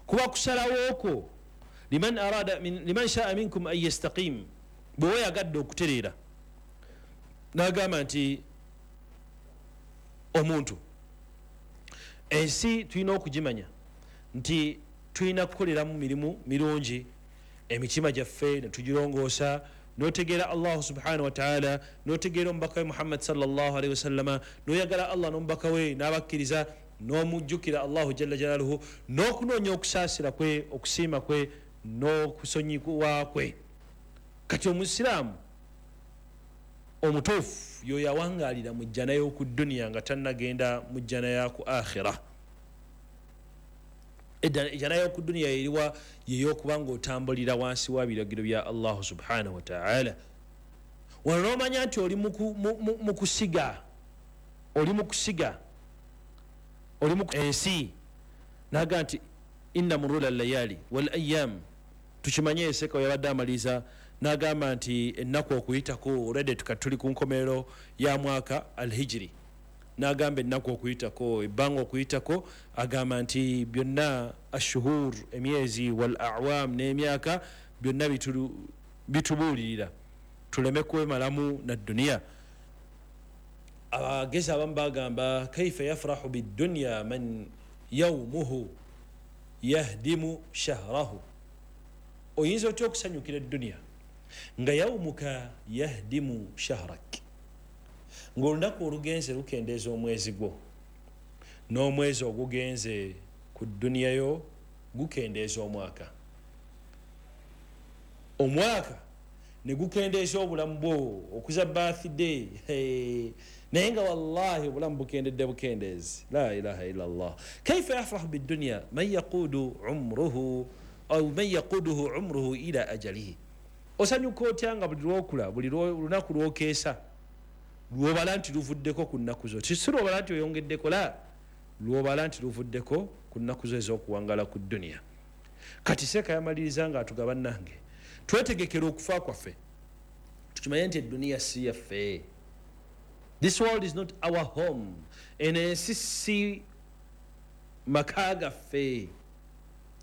kuba kusalawo okwo, liman arada liman shaa minkum an yastaqim, bwe weyagadde okutereera. N'agamba nti omuntu ensi tulina okugimanya nti tulina kukoleramu mirimu mirungi, emitima gyaffe ne tugirongoosa, n'otegeera Allahu subhanahu wa ta'ala, n'otegeera omubaka we Muhammad sallallahu alaihi wasallama, n'oyagala Allah n'omubaka we n'abakkiriza, n'omujjukira Allahu jalla jalaluhu, n'okunoonya okusaasira kwe, okusiima kwe, n'okusonyiwa kwe. Kati omusiraamu omutuufu yoyo awangaalira mu jjana y'oku dduniya nga tannagenda mu jjana ya ku akhira. Ejjana y'oku dduniya eriwa? Yeyokuba ng'otambulira wansi wa biragiro bya Allahu subhanahu wa ta'ala. Wano n'omanya nti oli mu kusiga, oli mu kusiga, oli mu ensi. Naga nti inna murula layali wal ayyam, tukimanye eseka yabadde amaliriza n'agamba nti ennaku okuyitako, already tuli ku nkomerero ya mwaka alhijiri, n'agamba ennaku okuyitako, ebbanga okuyitako, agamba nti byonna ashuhur, emyezi, wal awam, n'emyaka, byonna bitubuulirira tuleme kwemalamu na duniya. Abagezi abamu bagamba kaifa yafrahu bidunya man yaumuhu yahdimu shahrahu, oyinza otya okusanyukira eduniya nga yaumuka yahdimu shahrak, ng'olunaku olugenze lukendeeza omwezi gwo, n'omwezi ogugenze ku duniya yo gukendeeza omwaka, omwaka ne gukendeeza obulamu bwo, okuza birthday, naye nga wallahi obulamu bukendedde bukendeezi. La ilaha illa Allah. Kaifa yafrahu bidunya man yaqudu umruhu au man yaquduhu umruhu ila ajalihi, osanyuka otya nga buli lwokula, buli lunaku lwokeesa lwobala nti luvuddeko ku nnaku zo, si lwobala nti oyongeddeko, la lwobala nti luvuddeko ku nnaku zo ez'okuwangala ku duniya. Kati seeka yamaliriza nga atugaba, nange twetegekera okufa kwaffe, tukimanye nti eduniya si yaffe. This world is not our home. Eno ensi si maka gaffe.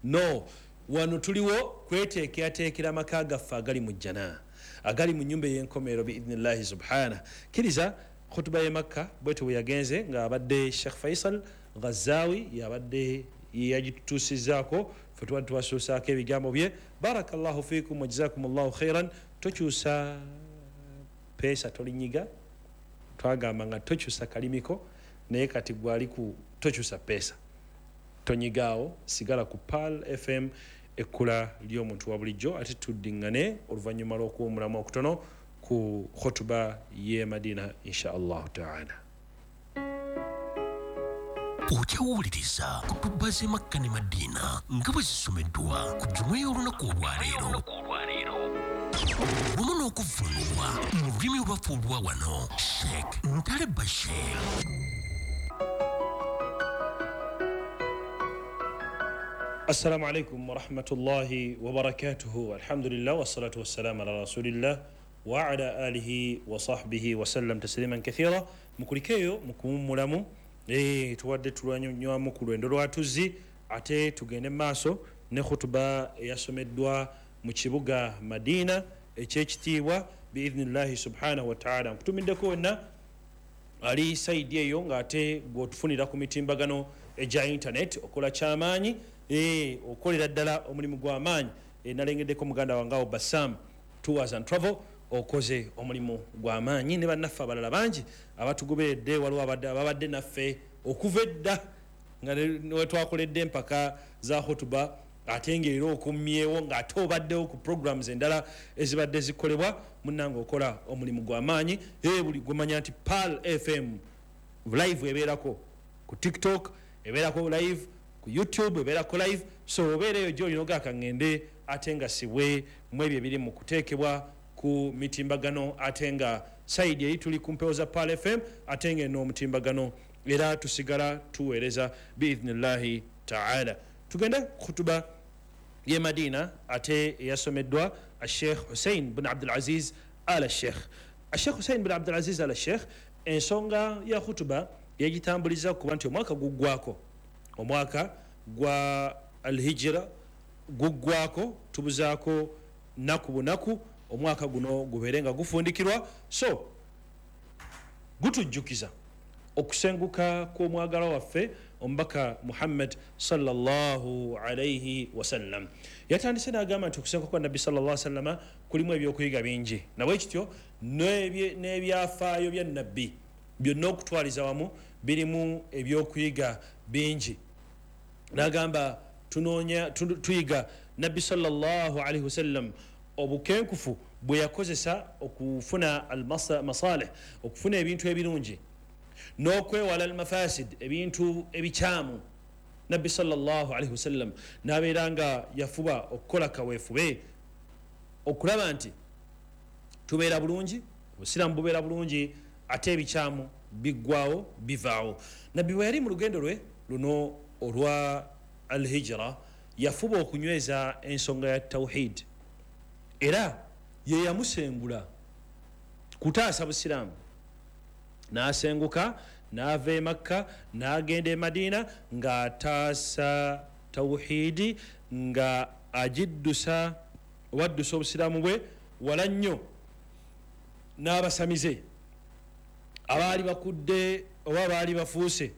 No, wano tuliwo kweteekerateekera maka gaffe agali mu jjana, agali mu nnyumba ey'enkomerero biidhnillahi subhana. Kkiriza khutuba y'e Makka bwetyo bwe yagenze, ng'abadde Sheikh Faisal Ghazawi yabadde yagitutuusizzaako, ffe tubadde tubasuusaako ebigambo bye. Barakallahu fikum wa jazakumullahu khairan. Tokyusa peesa, tolinyiga, twagamba nga tokyusa kalimiko, naye kati gwali ku tokyusa peesa, tonyigaawo, sigala ku Pearl FM, ekkula ly'omuntu wa bulijjo, ate tuddiŋŋane oluvannyuma lw'okuwummulamu okutono ku khutuba y'e Madina insha Allahu taala. Okyawuliriza kutuba z'e Makka ne Madina nga bwe zisomeddwa ku jjuma y'olunaku olwaleero, wamu n'okuvvuunulwa mu lulimi olwaffe olwa wano, Sheikh Ntale Bashir. Assalamu alaikum warahmatullahi wabarakatuhu. Alhamdulillah wassalatu wassalamu ala rasulillah wa ala alihi wa sahbihi wasallam tasliman kathira. Mukulikeeyo mukuwummulamu, tuwadde tulwanywamu ku lwendo lwatuzi, ate tugende mu maaso ne khutuba eyasomeddwa mu kibuga Madina ekyekitiibwa biidhnillahi subhanahu wa ta'ala. Nkutumiddeko wenna ali saidi eyo ng'ate gw'otufunira ku mitimbagano egya internet, okola kyamaanyi, okolera ddala omulimu gw'amaanyi. Nalengeddeko muganda wange awo Bassam Tours and Travel, okoze omulimu gw'amaanyi, ne bannaffe abalala bangi abatugoberedde, waliwo ababadde naffe okuva edda nga wetwakoledde empaka za khutuba, ate ng'era okumyewo ng'ate obaddewo ku programs endala ezibadde zikolebwa. Munnange okola omulimu gw'amaanyi. Buli gwemanya nti Pearl FM live ebeerako ku TikTok, ebeerako live ku YouTube, ebeerako live, so obeera eyo gy'olina ogaaka ngende ate nga sibwe mu ebyo ebiri mu kuteekebwa ku mitimbagano, ate nga sayidi eri tuli ku mpewo za Pearl FM, ate nga eno omutimbagano era tusigala tuweereza biidhnillahi taala. Tugende khutuba ye Madina, ate eyasomeddwa Sheikh Hussein bin Abdulaziz Al Sheikh. Sheikh Hussein bin Abdulaziz Al Sheikh, ensonga ya khutuba yagitambuliza kuba nti omwaka guggwako, omwaka gwa alhijira guggwako, tubuzaako naku bunaku omwaka guno gubeere nga gufundikirwa. So gutujjukiza okusenguka kw'omwagalwa waffe omubaka Muhammad sallallahu alaihi wasallam. Yatandise n'agamba nti okusenguka kwa Nabbi sallallahu alaihi wasallama kulimu ebyokuyiga bingi, nabwe kityo n'ebyafaayo bya Nabbi byonna okutwaliza wamu birimu ebyokuyiga bingi. N'agamba tunoonya tuyiga Nabbi sallallahu alaihi wasallam obukenkufu bwe yakozesa okufuna almasalih, okufuna ebintu ebirungi, n'okwewala almafasid, ebintu ebikyamu. Nabbi sallallahu alaihi wasallam n'abeera nga yafuba okukola kaweefube okulaba nti tubeera bulungi, obusiraamu bubeera bulungi, ate ebikyamu biggwawo, bivaawo. Nabbi bwe yali mu lugendo lwe luno olwa alhijira, yafuba okunyweza ensonga ya tawhid, era ye yamusengula kutaasa busiraamu. N'asenguka n'ava e Makka n'agenda e Madiina ng'ataasa tawhidi, nga agiddusa oba addusa obusiraamu bwe wala nnyo n'abasamize abaali bakudde oba abaali bafuuse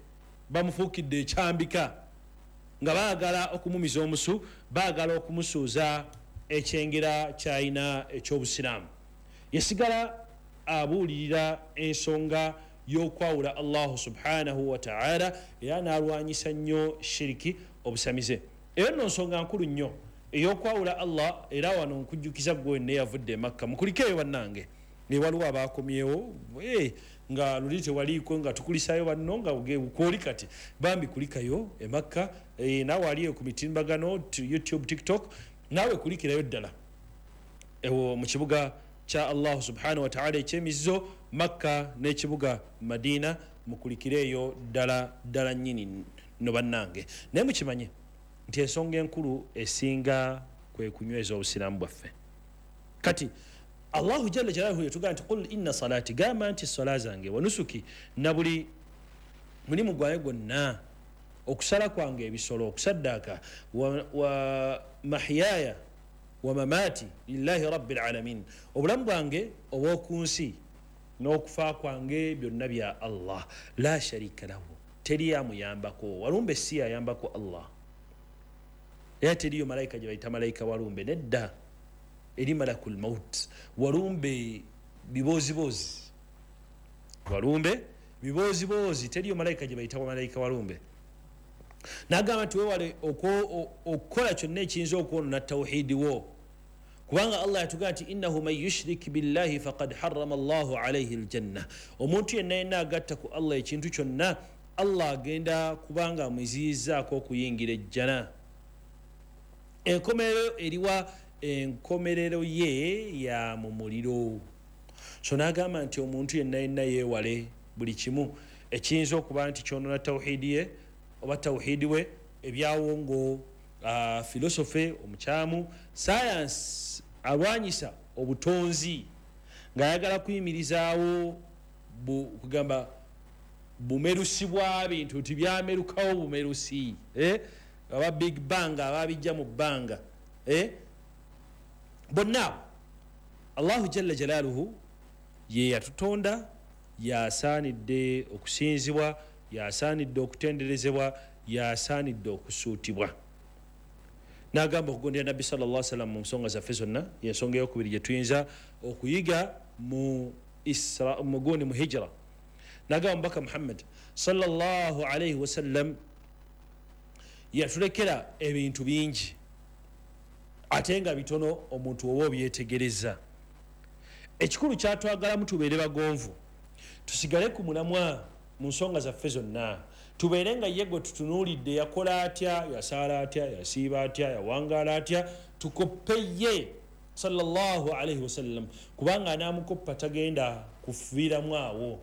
bamufuukidde ekyambika, nga baagala okumumiza omusu, baagala okumusuuza ekyengera kyalina eky'obusiraamu. Yasigala abuulirira ensonga y'okwawula Allahu subhanahu wa ta'ala, era n'alwanyisa nnyo shiriki, obusamize. Eyo nno nsonga nkulu nnyo ey'okwawula Allah. Era wano nkujjukiza ggwe wenna eyavudde e Makka, mukulikeeyo bannange, waliwo abakomyewo nga luli tewaliiko, nga tukulisaayo banno nga kwoli kati bambi kulikayo e Makka, naawe aliyo ku mitimbagano YouTube, TikTok, naawe kulikirayo ddala ewo mu kibuga kya Allahu subhanahu wa ta'ala ekyemizizo Makka n'ekibuga Madina, mukulikireeyo ddala ddala nnyini no bannange. Naye mukimanye nti ensonga enkulu esinga kwe kunyweza obusiraamu bwaffe. Kati Allahu jalla jalaluhu yatugamba nti qul inna salati, gamba nti sala zange, wa nusuki, na buli mulimu gwange gwonna, okusala kwange ebisolo, okusaddaaka, wa mahyaya wa mamati lillahi rabbil alamin, obulamu bwange obw'oku nsi n'okufa kwange byonna bya Allah, la sharika lahu, teri amuyambako. Walumbe si ayambako Allah, era teriyo malayika gye bayita malayika walumbe, nedda, eri malakul maut. Walumbe bibozibozi, walumbe bibozibozi, teriyo malayika gye bayita malayika walumbe. N'agamba nti weewale okukola kyonna ekiyinza okwonoona tawhidi wo, kubanga Allah yatugamba nti innahu man yushrik billahi faqad harrama Allahu alayhi aljanna, omuntu yenna yenna agatta ku Allah ekintu kyonna, Allah agenda kubanga amuziyizaako okuyingira ejjana. Enkomerero eriwa? Enkomerero ye ya mu muliro. So n'agamba nti omuntu yenna yenna yeewale buli kimu ekiyinza okuba nti kyonoona tawhidi ye oba tawhidi we, ebyawongo, filosofe omukyamu, science alwanyisa obutonzi ng'ayagala kuyimirizaawo kugamba bumerusi bwa bintu nti byamerukawo bumerusi, aba big bang ababijja mu bbanga, bonna Allahu jalla jalaluhu ye yatutonda, yasaanidde okusinzibwa, yasaanidde okutenderezebwa, yasaanidde okusuutibwa. N'agamba okugondera Nabbi sallallahu alaihi wasallam mu nsonga zaffe zonna, y'ensonga eyokubiri gye tuyinza okuyiga mu Isra, mu mu hijra. N'agamba Omubaka Muhammad sallallahu alaihi wasallam yatulekera ebintu bingi ate nga bitono omuntu oba obyetegereza. Ekikulu kyatwagalamu tubeere bagonvu, tusigale ku mulamwa mu nsonga zaffe zonna, tubeere nga ye gwe tutunuulidde yakola atya, yasaala atya, yasiiba atya, yawangaala atya, tukoppe ye sallallahu alaihi wasallam, kubanga anaamukoppa tagenda kufiiramu awo,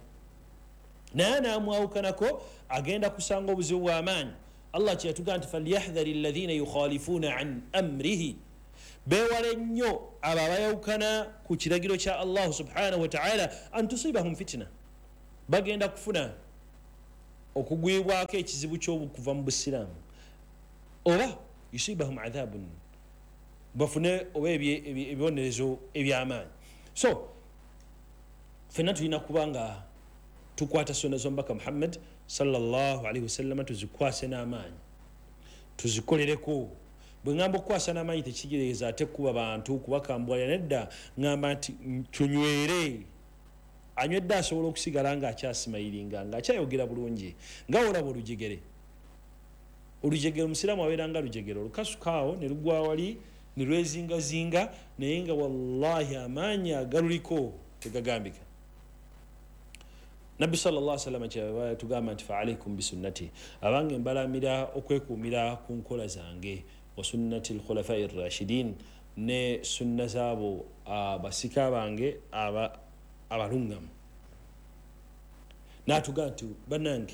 naye anaamwawukanako agenda kusanga obuzibu bw'amaanyi. Allah kyeyatugamba nti falyahdhari alladhina yukhalifuna an amrihi, beewale nnyo abo abayawukana ku kiragiro kya Allahu subhanahu wataala, an tusibahum fitina, bagenda kufuna okugwibwako ekizibu ky'okuva mu busiraamu, oba yusibahum adhabun, bafune oba ebibonerezo ebyamaanyi. So ffenna tulina kuba nga tukwata sunna z'omubaka Muhammad sallallahu alaihi wasallam, tuzikwase n'amaanyi, tuzikolereko. Bwe ŋŋamba okukwasa n'amaanyi tekitegeeza ate kuba bantu kubakambwalira, nedda, ŋŋamba nti tunywere. Anywedde asobola okusigala ng'akyasimayiringa, ng'akyayogera bulungi, nga olaba olujegere. Olujegere omusiraamu abeera nga lujegere, olukasukaawo ne lugwa wali ne lwezingazinga, naye nga wallahi amaanyi agaluliko tegagambika. Nabbi sallallahu alaihi wasallam kyeyava tugamba nti fa alaikum bisunnati, abange mbalamira okwekuumira ku nkola zange, wa sunnati alkhulafai rashidin, ne sunna zaabo abasika bange abalungamu. N'atugamba nti bannange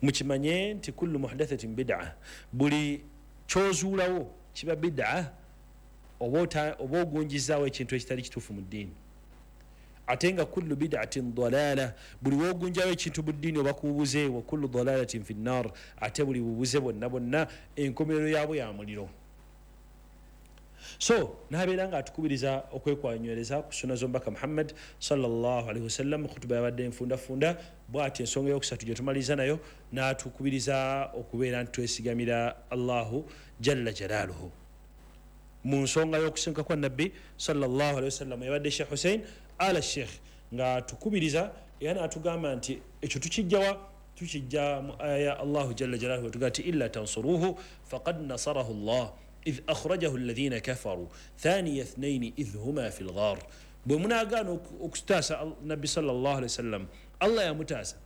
mukimanye nti kullu muhdathatin bid'a, buli kyozuulawo kiba bid'a, oba ogunjizaawo ekintu ekitali kituufu mu ddiini. Ate nga kullu bid'atin dalala, buli wogunjawo ekintu mu ddiini oba kububuze, wa kullu dalalatin fi nnar, ate buli bubuze bwonna bwonna enkomerero yaabwe ya muliro. So n'abeera nga atukubiriza okwekwanywereza ku sunna z'omubaka Muhammad sallallahu alaihi wasallam. Khutuba yabadde enfundafunda bw'ati. Ensonga eyokusatu gye tumaliriza nayo, n'atukubiriza okubeera nti twesigamira Allahu jalla jalaaluhu mu nsonga y'okusenguka kwa Nabbi sallallahu alaihi wasallam. Yabadde Sheikh Hussein ala Sheikh nga tukubiriza era n'atugamba nti ekyo tukijjawa, tukijja mu aya ya Allahu jalla jalaaluhu, tugaa nti illa tansuruhu faqad nasarahu Allah idh akhrajahu alladhina kafaru thaniya ithnaini idh huma fi lghar. Bwe munaagaana okutaasa Nabbi sallallahu alaihi wasallam, Allah yamutaasa.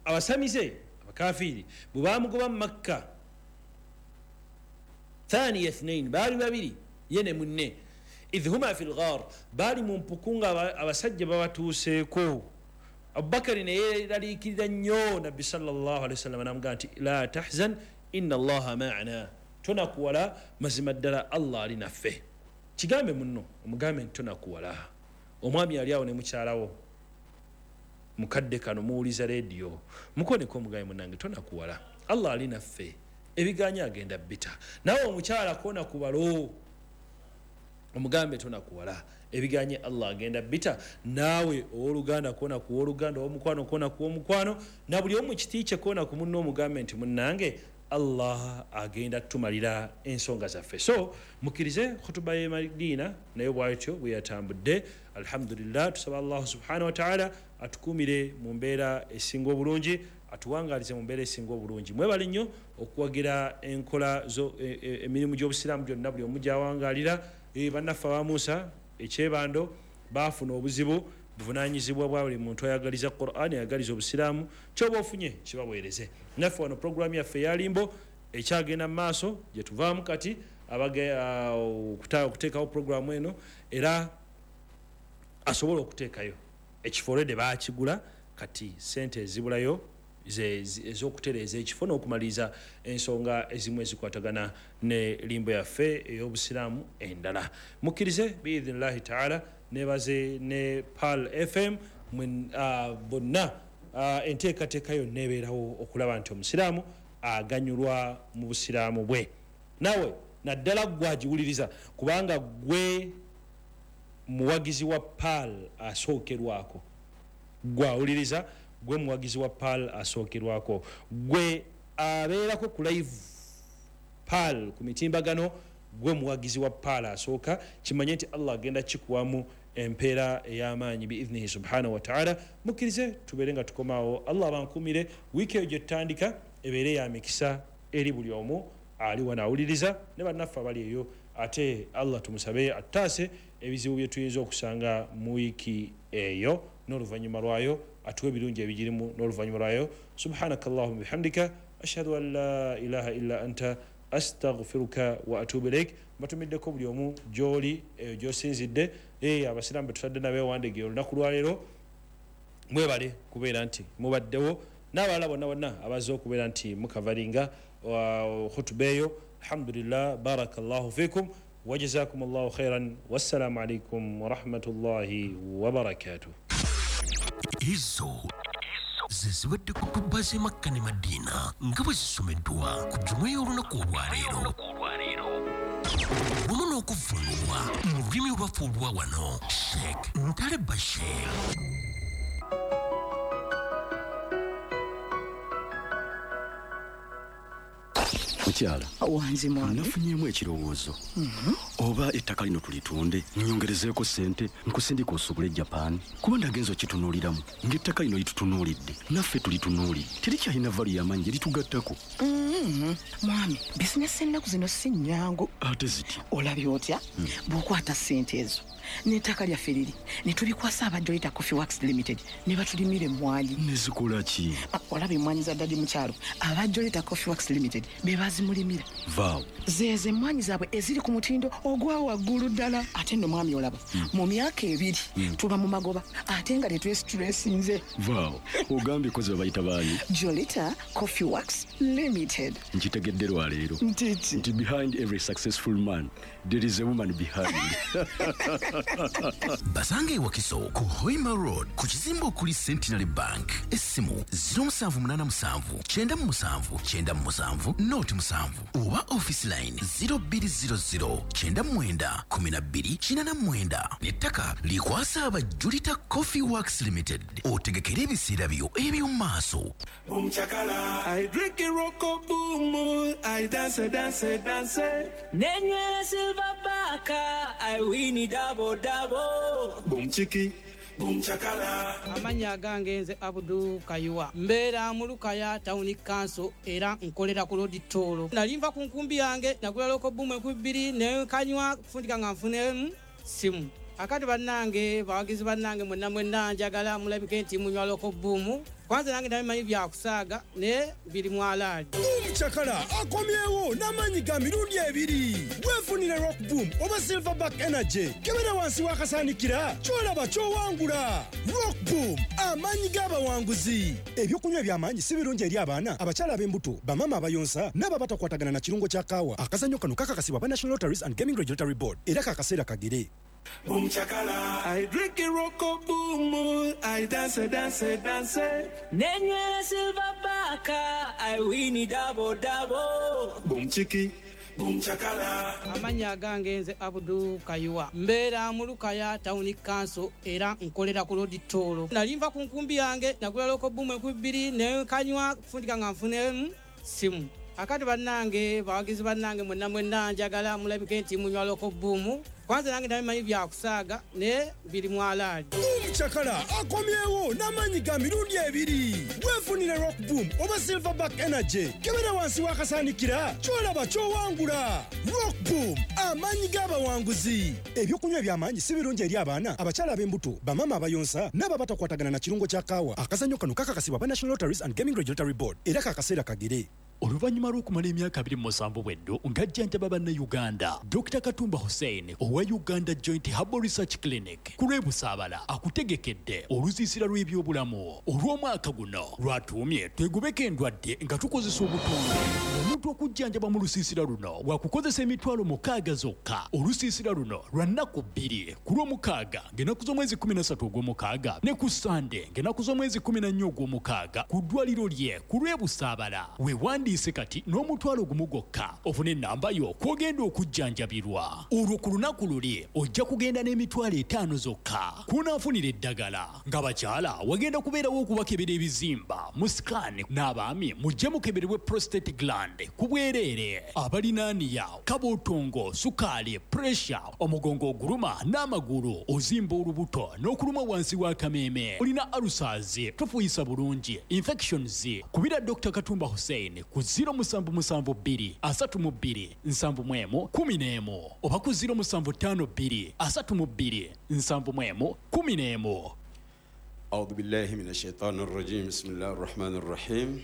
Abasamize abakafiiri bwe bamugoba mu Makka, thaniya ithnaini, baali babiri ye ne munne, idh huma fi lghar, baali mu mpuku nga abasajja babatuuseeko. Abubakari ne yeeraliikirira nnyo Nabbi sallallahu alaihi wasallam, n'amugamba nti la tahzan inna allaha ma'ana, tonakuwala, mazima ddala Allah ali naffe. Kigambe munno, omugambe nti tonakuwala. Omwami ali awo ne mukyalawo mukadde kano muwuliza rediyo, mukoneko omugambe munnange tonakuwala, Allah ali naffe, ebiganya agenda bita. Nawe omukyala kona kubalo, omugambe tonakuwala, ebiganye Allah agenda bita. Naawe owooluganda kona ku wooluganda, owomukwano kona ku womukwano, na buli omu kiti kye kona ku munno omugambe nti munnange Allah agenda tumalira ensonga zaffe. So mukkirize khutuba y'e Madina nayo bw'atyo bwe yatambudde. Alhamdulillah, tusaba Allah subhanahu wa ta'ala atukuumire mu mbeera esinga obulungi, atuwangaalize mu mbeera esinga obulungi. Mwebale nnyo okuwagira enkola zo emirimu gy'obusiraamu gyonna buli omu gy'awangaalira. Bannaffe aba Musa ekyebando baafuna obuzibu, buvunaanyizibwa bwa buli muntu ayagaliza Qur'an, ayagaliza obusiraamu, kyoba ofunye kibaweereze. Naffe wano puroguramu yaffe eyalimbo ekyagenda mu maaso gye tuvaamu kati okuteekawo puroguramu eno, era asobola okuteekayo ekifo olwedde baakigula, kati sente ezibulayo ez'okutereeza ekifo n'okumaliriza ensonga ezimu ezikwatagana ne limbo yaffe ey'obusiraamu endala. Mukkirize biidhinillahi taala, nebaze ne Pearl FM bonna enteekateeka yonna ebeerawo okulaba nti omusiraamu aganyulwa mu busiraamu bwe. Naawe naddala ggwe agiwuliriza, kubanga gwe muwagizi wa Pearl asookerwako, gwe awuliriza gwe muwagizi wa Pearl asookerwako, gwe abeerako ku live Pearl ku mitimbagano, gwe muwagizi wa Pearl asooka. Kimanye nti Allah agenda kikuwamu empeera ey'amaanyi biidhnihi subhanahu wa ta'ala. Mukkirize tubeere nga tukomaawo. Allah abankuumire. Wiiki eyo gye tutandika ebeere ya mikisa eri buli omu ali wano awuliriza ne bannaffe abali eyo. Ate Allah tumusabe atutaase ebizibu bye tuyinza okusanga mu wiiki eyo n'oluvannyuma lwayo, atuwe ebirungi ebigirimu n'oluvannyuma lwayo. Subhanaka allahumma bihamdika ashhadu an la ilaha illa anta astaghfiruka wa atubu ilaik. Mbatumiddeko buli omu gy'oli eyo gy'osinzidde. Abasiraamu be tutadde nabo ewandege olunaku lwaleero, mwebale kubeera nti mubaddewo. N'abalala bonna bonna abazze okubeera nti mukavaringa khutuba eyo. Alhamdulillah, barakallahu fikum wa jazakumullahu khairan, wassalamu alaikum wa rahmatullahi wa barakatuh. Ezo zezibadde kutuba z'e Makka ne Madiina nga bwe zisomeddwa ku jjuma y'olunaku olwaleero wamu n'okuvvuunulwa mu lulimi olwaffe olwa wano Sheikh Ntale Bashir. Mukyala wanze mwana, nafunyeemu ekirowoozo. Oba ettaka lino tulitunde nyongerezeeko ssente nkusindika osobole Japan, kuba ndagenza okitunuuliramu ng'ettaka lino litutunuulidde naffe tulitunuulidde, terikyalina valu y'amaanyi litugattako. Mwami, bizinesi ennaku zino si nnyangu. Ate ziti olabye otya bw'okwata ssente ezo n'ettaka lyaffe liri ne tulikwasa aba Jolita Coffee Works Limited ne batulimira emmwanyi. Nezikola ki? Olaba emmwanyi za ddadi mukyalo, aba Jolita Coffee Works Limited be bazimulimira. Vaawo zeezo emmwanyi zaabwe eziri ku mutindo ogwa waggulu ddala. Ate nno mwami olaba mu myaka 2 tuba mu magoba ate nga tetwesitulesinze. Vaawo ogambye kozi babayita baani? Jolita Coffee Works Limited. Nkitegedde lwaleero nti behind every successful man there is a woman behind. Basange Wakiso ku Hoima Road ku kizimbe okuli Centenary Bank. Essimu 0787 97 97 07 oba office line 0200 99 12 89. N'ettaka likwasa aba Jolita Coffee Works Limited. Otegekere ebiseera byo eby'omu maaso. I drink a roko boom, I dance, dance, dance. Nenywera silver baka, I win double double. Boom chiki, boom chakala. Amannya agange nze Abdu Kayuwa, mbeera mu Lukaya Town Council era nkolera ku Lodi Toolo. Nali nva ku nkumbi yange nagula loko boom 2000 ne kanywa kufundika nga nfunemu simu. Akati bannange bawagizi bannange mwenna mwenna njagala mulabike nti munywa loko boom. Kwanza nange ndabimanyi byakusaaga naye biri mwalaali. Chakala akomyewo n'amaanyi ga mirundi 2. Weefunire Rock Boom oba Silverback Energy. Kebera wansi w'akasaanikira ky'olaba ky'owangula. Rock Boom, amaanyi g'abawanguzi. Ebyokunywa eby'amaanyi si birungi eri abaana, abakyala ab'embuto, bamaama abayonsa n'abo abatakwatagana na kirungo kya kaawa. Akazannyo kano kakakasibwa aba National Lotteries and Gaming Regulatory Board era kakaseera kagere. Boom chakala, I drink a roko boom, I dance, dance, dance. Nenywera silver baka, I win double double. Boom chiki, boom chakala. Amannya agange nze Abdu Kayuwa, mbeera mu Lukaya Town Council era nkolera ku Lodi Toolo. Nali nva ku nkumbi yange nagula loko boom 2000 ne kanywa kufundika nga nfunemu simu. Akati bannange bawagizi bannange mwenna mwenna njagala mulabike nti munywa loko boom. Kwanza nange ndabimanyi byakusaaga naye biri mwalaali. Chakala akomyewo n'amaanyi ga mirundi 2. Weefunire Rock Boom oba Silverback Energy. Kebera wansi w'akasaanikira ky'olaba ky'owangula. Rock Boom, amaanyi g'abawanguzi. Ebyokunywa eby'amaanyi si birungi eri abaana, abakyala ab'embuto, bamaama abayonsa n'abo abatakwatagana na kirungo kya kaawa. Akazannyo kano kakakasibwa aba National Lotteries and Gaming Regulatory Board era kakaseera kagere. Oluvannyuma lw'okumala emyaka 27 bweddo ng'ajjanjaba bannayuganda, Dr. Katumba Hussein owa Uganda Joint Herbal Research Clinic ku lw'e Busaabala akutegekedde olusiisira lw'ebyobulamu olw'omwaka guno lwatuumye twegobeko endwadde nga tukozesa obutonde. Omuntu okujjanjaba mu lusiisira luno wakukozesa emitwalo 6 zokka. Olusiisira luno lwa nnaku 2 ku lw'omukaaga ng'ennaku z'omwezi 13 ogw'omukaaga ne ku Sande ng'ennaku z'omwezi 14 ogw'omukaaga ku ddwaliro lye ku lw'e Busaabala. Weewandiise kati n'omutwalo gumu gwokka ofune ennamba yo kw'ogenda okujjanjabirwa. Olwo ku lunaku luli ojja kugenda n'emitwalo 5 zokka kw'onaafunira eddagala. Ng'abakyala wagenda kubeerawo okubakebera ebizimba mu scan, n'abaami mujje mukeberebwe prostate gland ku bwereere. Abalinaaniya, kabootongo, sukaali, pressure, omugongo oguluma n'amagulu, ozimba olubuto n'okuluma wansi w'akameeme, olina ulcers, tofuuyisa bulungi, infections, kubira Dr. Katumba Hussein ku 0772 32 71 11 oba ku 0752 32 71 11. أعوذ بالله من الشيطان الرجيم. بسم الله الرحمن الرحيم.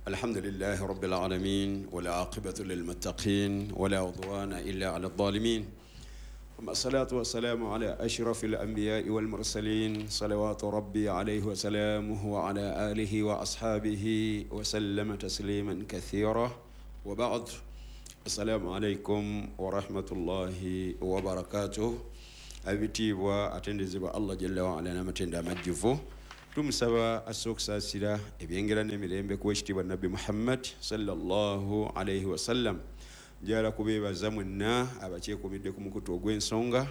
الحمد لله رب العالمين والعاقبة للمتقين ولا عدوان إلا على الظالمين. ثم الصلاة والسلام على أشرف الأنبياء والمرسلين صلوات ربي عليه وسلامه وعلى آله وأصحابه وسلم تسليما كثيرا وبعد السلام عليكم ورحمة الله وبركاته. Abitiibwa atendezebwa Allah jalla waala n'amatendo amajjuvu, tumusaba asse okusaasira ebyengera n'emirembe ku wekitiibwa Nabbi Muhammad sallallahu alaihi wasallam. Njagala kubeebaza mwenna abakyekuumidde ku mukutu ogw'ensonga.